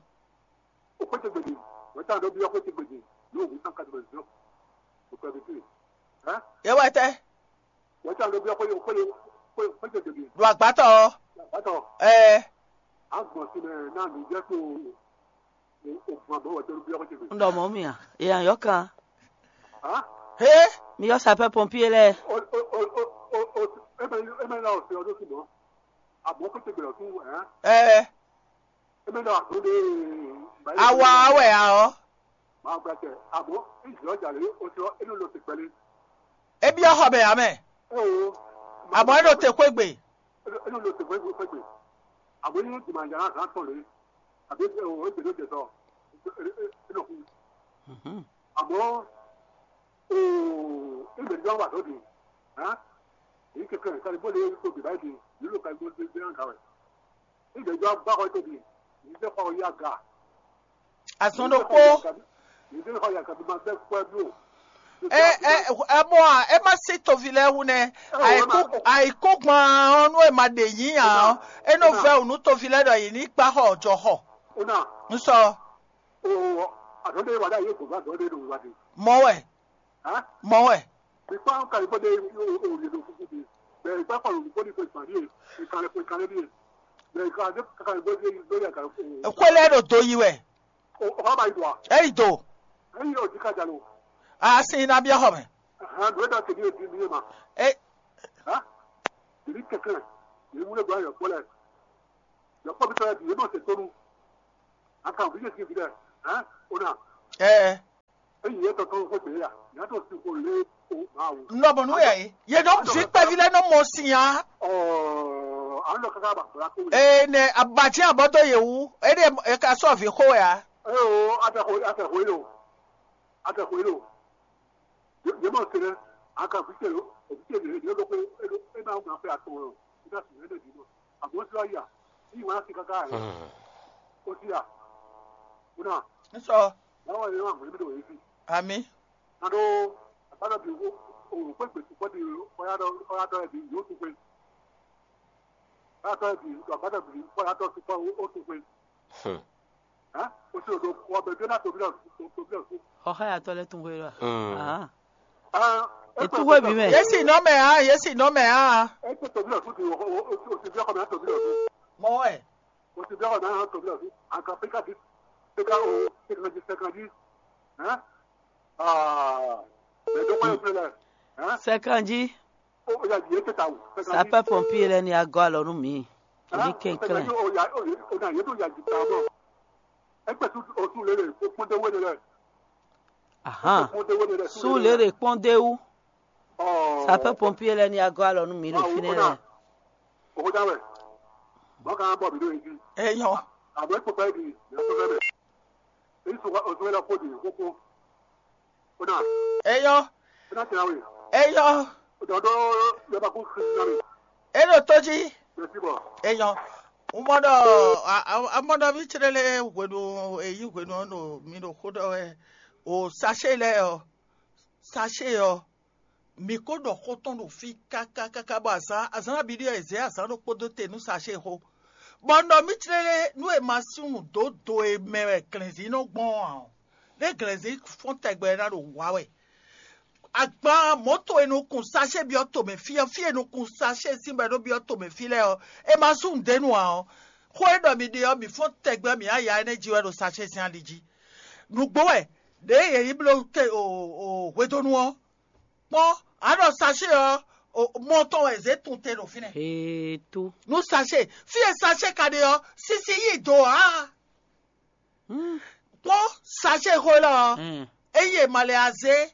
O kpé tẹ gbèdì. Wọ́n tàn lọ bí ɔkọ̀ tẹ gbèdì. Yóò wí sàn kàtó bẹ̀rẹ̀ sọ. O kpé bi tẹ. Ẹ́. Yẹ wá tẹ. Wọ́n tàn lọ bí ɔkọ̀ yóò kpé yóò kpé kpé tẹ gbèdì. Lu àgbátọ̀. Àgbátọ̀. Ẹ. A gbọ̀n sí mẹ náà ló jẹ́ tó. N ɖɔ mɔ̌ mì a? È nǎ yɔ kan. Hé! Mi yɔ sapɛ́ pɔnpíé lɛ́ɛ. Ɛɛ, awa wɛ a ɔ́? É byɔ́ xɔ mɛ ǎ mɛ. Amɔ̌ é ɖo te xwé gbe. Àmọ́ ní ìgbìmọ̀ àjàrà kan tọ̀ lé àbí ẹ̀wọ̀n ìgbèrè òjò sọ ẹ̀nà kú. Àmọ́ ìgbèrè jọ wà lóde èyí kékeré kárí bó lè tó bì báyìí di nílò kárí bó lè gbé hàn kàwé. Ìgbèrè jọ bá kọ́ tóbi yìí jẹ́ kọ́ yá ga. Azɔn ɖokpó. Yìí jẹ́ kọ́ yá ga bí ma bẹ́ kọ́ ẹ bí o. Ɛ ɛ ɛ mɔ a ɛ ma si tovi lɛ wu nɛ. Ayiku ayiku gban ɔnu ɛ ma ɖe yi nya ɔ ɛ nɔ vɛ wu nu tovi lɛ ɖɔ yi ni kpa xɔ jɔ xɔ. Una. Nsɔ. O àdó de wà dá yé gbogbo àdó de do wà de. Mɔ wɛ. Hã? Mɔ wɛ. Ìpá ń kàlí bó de òye ló kúkú de. Bẹ̀rẹ̀ ìpá kọ̀lù bó de pé ìpàdé yẹ ìkàlẹ̀ pé ìkàlẹ̀ bí yẹ. Bẹ̀rẹ̀ ìkàlẹ̀ kàlí bó de lórí àkàlẹ̀ kò. Kwelɛ ɖo do yi wɛ. Ɔ ba yi do a? Eyi do. Eyi yɔ di ka jalo. A sin na biɛ xɔ mɛ. Hàn do da tèmi èdi mi ma. E. Ha? Èmi kẹkẹ. Èmi wúlò gba yọ kpọlẹ. Yọ kpọ bi tọ yẹ bi yẹ mọ se tonu. A kan fi yẹ si fi dẹ. Hàn? O na. Ɛ. Eyi yɛ tɔtɔ ko gbe ya. Yàtọ̀ sí kò lé o ma o. Nɔbɔ nu yɛ yi. Ye nɔ fi kpɛvi lɛ nɔ mɔ si ya. Ɔ, an lɔ kaka ba bla ko. Ee nɛ abatsi abɔtɔ yewu. E de e ka sɔ vi xo ya. Ee o, atɛ xo atɛ xo yi lo. Atɛ xo yi lo. Ye ma se dɛ, a ka fi se lo. O fi se le le lo ko e lo e ma ma fɛ atɔ lo. I ka si ne de di lo. A bo si ya. I wa si kaka. O si ya. Una. Nsɔ. Báwo ni wọ́n mú níbi tó yìí sí? Àmì. Nado, báwo bí o o pé gbèsè pọ́ di ọ̀yá dọ́ ọ̀yá dọ́ ẹ̀bí yóò tún pé. Ọ̀yá dọ́ ẹ̀bí ọ̀gbá dọ̀ bí ọ̀yá dọ́ sí pọ́ ó tún pé. Hàn? Ó sì lò ó bẹ̀ bí ó náà tóbi lọ tóbi lọ sí. Xɔxɔ ya tɔ lɛ tun hwe lɔ. Hàn? Hàn? Ètú hwe bí mɛ. Yési nɔ mɛ hàn, yési nɔ mẹ hàn. É tó tóbi lọ sí ti ó ti bí ọkọ mi á tóbi lọ sí. Mɔ wɛ. O ti bla wà náà tó bla fi. Àgbà pékàdí. Pékà o pékàdí pékàdí. Hɛn. Aa. Mɛ dɔgba yóò fẹ́ lɛ. Hɛn. Sɛkanji. O ya yìí tɛ ta o. Sapɛ pɔmpier lɛ ni agɔ alɔ nú mi. Èmi kɛnklɛn. O ya o ya o na yé tó ya jì ta bɔ. Ẹgbẹ́ sùn o sùn lélẹ̀ o kpọ́ndé wé lélẹ̀. Ahan. Kpọ́ndé wé lélẹ̀. Sùn lélẹ̀ kpɔ́ndéwu. Ɔɔ. Sapɛ pɔmpier lɛ ni agɔ alɔ nú mi ɖo fínɛ́ lɛ. Òkúta wẹ̀. Wọ́n kàn bọ̀ mí lóye jí. Eyɔn. Àmọ́ ipò báyìí di ìyá tó fẹ́ bẹ̀. Èyí sọ oṣù wẹ́lẹ̀ kó di kókó. Ó náà. Eyɔn. Ó náà tẹ̀lé àwìn. Eyɔn. Ó dọ̀ dọ́ yọba kó kiri náà mi. Eɖo tó jí. Yẹ sí bọ̀. Eyɔn. Mɔɖɔ amɔɖɔ mi tsrele hwenu eyi hwenu ɔnɔ mi ɖo xó ɖɔ wɛ. O sachet lɛ ɔ, sachet ɔ, mi ko ɖɔ xó tɔn ɖo fí káká káká bɔ azǎn azǎn abíɖí ɔ́ è zě azǎn ɖokpó dó te nú sachet xó. Bɔ un ɖɔ mì tlélé nú è ma sú nǔ dó do e mɛ wɛ glɛ̌nzí nɔ gbɔn ɔ́ ǎ ɔ́, ɖé glɛ̌nzí fɔ́n tɛgbɛ ná ɖo wǎ wɛ. Agban mɔ̌to e nukun sachet byɔ́ tomɛ fí ɔ́, fí e nukun sachet sín bɔ é nɔ byɔ́ tomɛ fí lɛ́ɛ ɔ́, è ma sú nǔɖé nu ǎ ɔ́, xó e ɖɔ mi ɖe ɔ́, mǐ fɔ́n tɛgbɛ mǐ aya énɛ́ jí wɛ ɖo sachet sín ali jí. Nǔgbó wɛ ɖěe yě yi bló te o hwedónu ɔ́, kpɔ́n, a ɖɔ sachet ɔ́, mɔ tɔn wɛ zě tun te ɖo fínɛ́. Heto. Nú sachet, fí e sachet ka ɖe ɔ́, sisi yí do ǎ. Kpɔ́n sachet xó élɔ́ ɔ́, eye ma lɛ azé,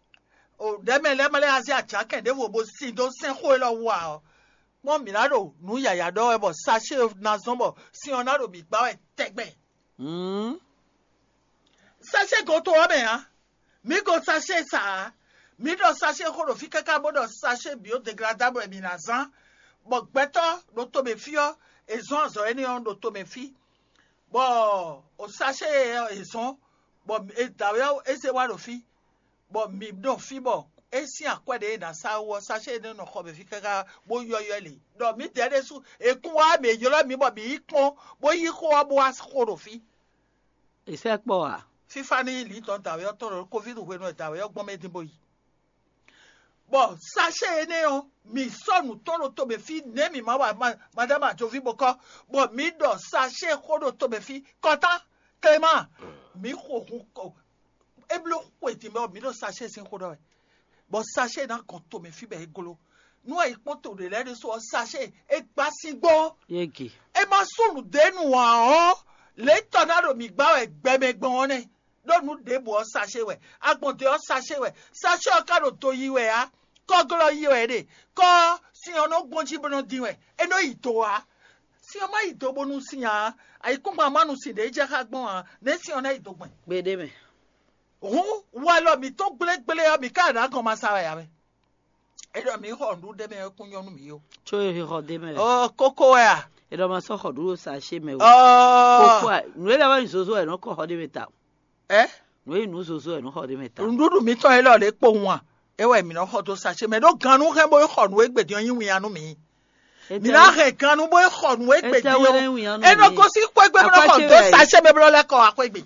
ɖɛ̌mɛ lɛ́ɛ ma lɛ azé ajakɛn ɖěvo bó sin dó sɛn xó élɔ́ wú ǎ ɔ́, kpɔ́n mǐ ná ɖo nǔ yǎyá ɖɔ wɛ bɔ sachet ná zɔ́n bɔ sin ɔ́ ná ɖo mǐ gbá wɛ tɛgbɛ. Sachet goto ɔ́ mɛ ǎ. Mǐ ko sachet sa ǎ. Mǐ ɖɔ sachet xó ɖo fí káká bó ɖɔ sachet biodegladable wɛ mǐ ná zán, bɔ gbɛtɔ́ ɖo tomɛ fí ɔ́, è zɔ́n azɔ̌ énɛ́ ɔ́ ɖo tomɛ fí, bɔ o sachet ɔ́ è zɔ́n, bɔ è dǎwe ɔ́ é zé wá ɖo fí, bɔ mǐ ɖo fí bɔ é sín akwɛ́ ɖě è nǎ sa wú ɔ́, sachet énɛ́ nɔ xɔ mɛ fí káká bó yɔ́yɔ́ lě, ɖɔ mǐdɛɛ ɖésú è kún wá mǐ ylɔ́ mǐ bɔ mǐ yi kpɔ́n, bó yí xó ɔ́ bó wá xó ɖo fí. È sɛ́ kpɔ́ a? Fífá ní lǐtɔn dǎwe ɔ́ tɔn ɖo Covid hwenu e dǎwe ɔ́ gbɔn mɛ din bó yi. Bɔ sachet énɛ́ ɔ́, mǐ sɔ́ nǔ tɔn ɖo tomɛ fí nɛ̌ mǐ ma wa madama Ajoví bó kɔ́, bɔ mǐ ɖɔ sachet xó ɖo tomɛ fí. Kɔtá, Clément, mǐ xo hun kɔ. É bló xwe din mɛ ɔ́, mǐ ɖo sachet sín xó ɖɔ wɛ. Bɔ sachet ná gɔn tomɛ fí bɔ é gló. Nú e yi kpɔ́n to ɖě lɛ́ɛ ɖésú ɔ́, sachet é gbá síngbó. Yége. É má sú nǔɖé nu ǎ ɔ́, lě tɔn ná ɖo mǐ gbá wɛ gbɛmɛ gbɔn ɔ́ nɛ́. Ɖó nǔ ɖěbǔ ɔ́ sachet wɛ, agbɔ̌n ɖě ɔ́ sachet wɛ, sachet ɔ́ ka ɖo do yi wɛ ǎ, kɔ́glɔ́ yi wɛ é ɖe, kɔ́ sin ɔ́ nɔ gbɔn jí bó nɔ dín wɛ, é nɔ yi do ǎ. Sin ɔ́ má yi do bónú sin ǎ, ayǐkúngban má nu sin ɖě jɛ xá gbɔn ǎ, nɛ̌ sin ɔ́ ná yi do gbɛn? Gbeɖé mɛ. Hǔn, walɔ mǐtɔn gblégblé ɔ́, mǐ ka ɖo agɔn ma sa wɛ ǎ mɛ. É ɖɔ mǐ xɔ nǔɖuɖu ɖé mɛ ɔ́ kún nyɔ́ nú mǐ ó. Có e xɔ ɖ'é mɛ lɛ́ɛ. Ɔ kókó wɛ a? É ɖɔ ma sɔ́ xɔ nǔɖuɖu sa ṣé mɛ ó. Ɔ Kókó a, nǔ e lɛ́ wá nyi zozo wɛ nɔ kɔ xɔ ɖ'é mɛ ta. Ɛ? Nǔ e nǔ zozo wɛ nɔ xɔ ɖ'é mɛ ta. Nǔɖuɖu mǐtɔn élɔ́ ɖě kpowun a? É wɛ mǐ nɔ xɔ dó sa ṣé mɛ ɖó gannú hɛn bó xɔ nǔ e gbě din ɔ́ nyí winnyá nú mǐ. Mǐ ná hɛn gannú bó xɔ nǔ e gbě din ɔ́. É nɔ gosín xwé gbe bó nɔ xɔ dó sa ṣé mɛ bó nɔ lɛ́ kɔ wá xwé gbe.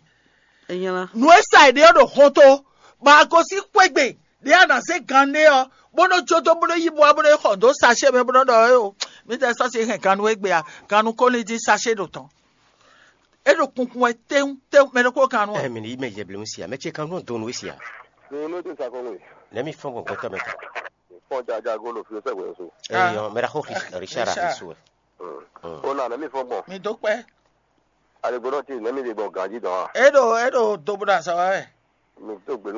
Nǔ e sa è ɖe ɔ́ ɖo hɔnto, bɔ a gosín xwé gbe ɖě a nǎ zé gan ɖé ɔ́, bó nɔ́ jó dó bó nɔ́ yí bó wá bó nɔ́ yi xɔ dó sachet mɛ bó nɔ́ ɖɔ éo, mǐtɛɛ sɔ́ sin hɛn gannú égbé a, gannú ko ní dín sachet ɖo tɔn. É ɖo kunkun wɛ téwún téwún, mɛ ɖokpó gannú ɔ. Ɛ mǐ ní yi mɛ yɛblɛ́ si a, mɛ ce kan nɔ dó nú we si a. Nú nú dín sa kɔn nú we. Nɛ̌ mi fɔ́n gbɔn gbɛtɔ́ mɛ tɔn? Fɔ́n jaja gó lo fi sɛ́ gbɛ̌ so. Ɛ yɔ, mɛ ɖaxó Richard ɖo su wɛ. Ó nà nɛ̌ mi fɔ́n gbɔn. Mi dó kpɛ́. Aligbɔnɔ ti nɛ̌ mi ɖe gbɔn ganjí dɔn a? É ɖo é ɖo dobo ɖo azɔ̌ wa wɛ. Mi dó gbe nú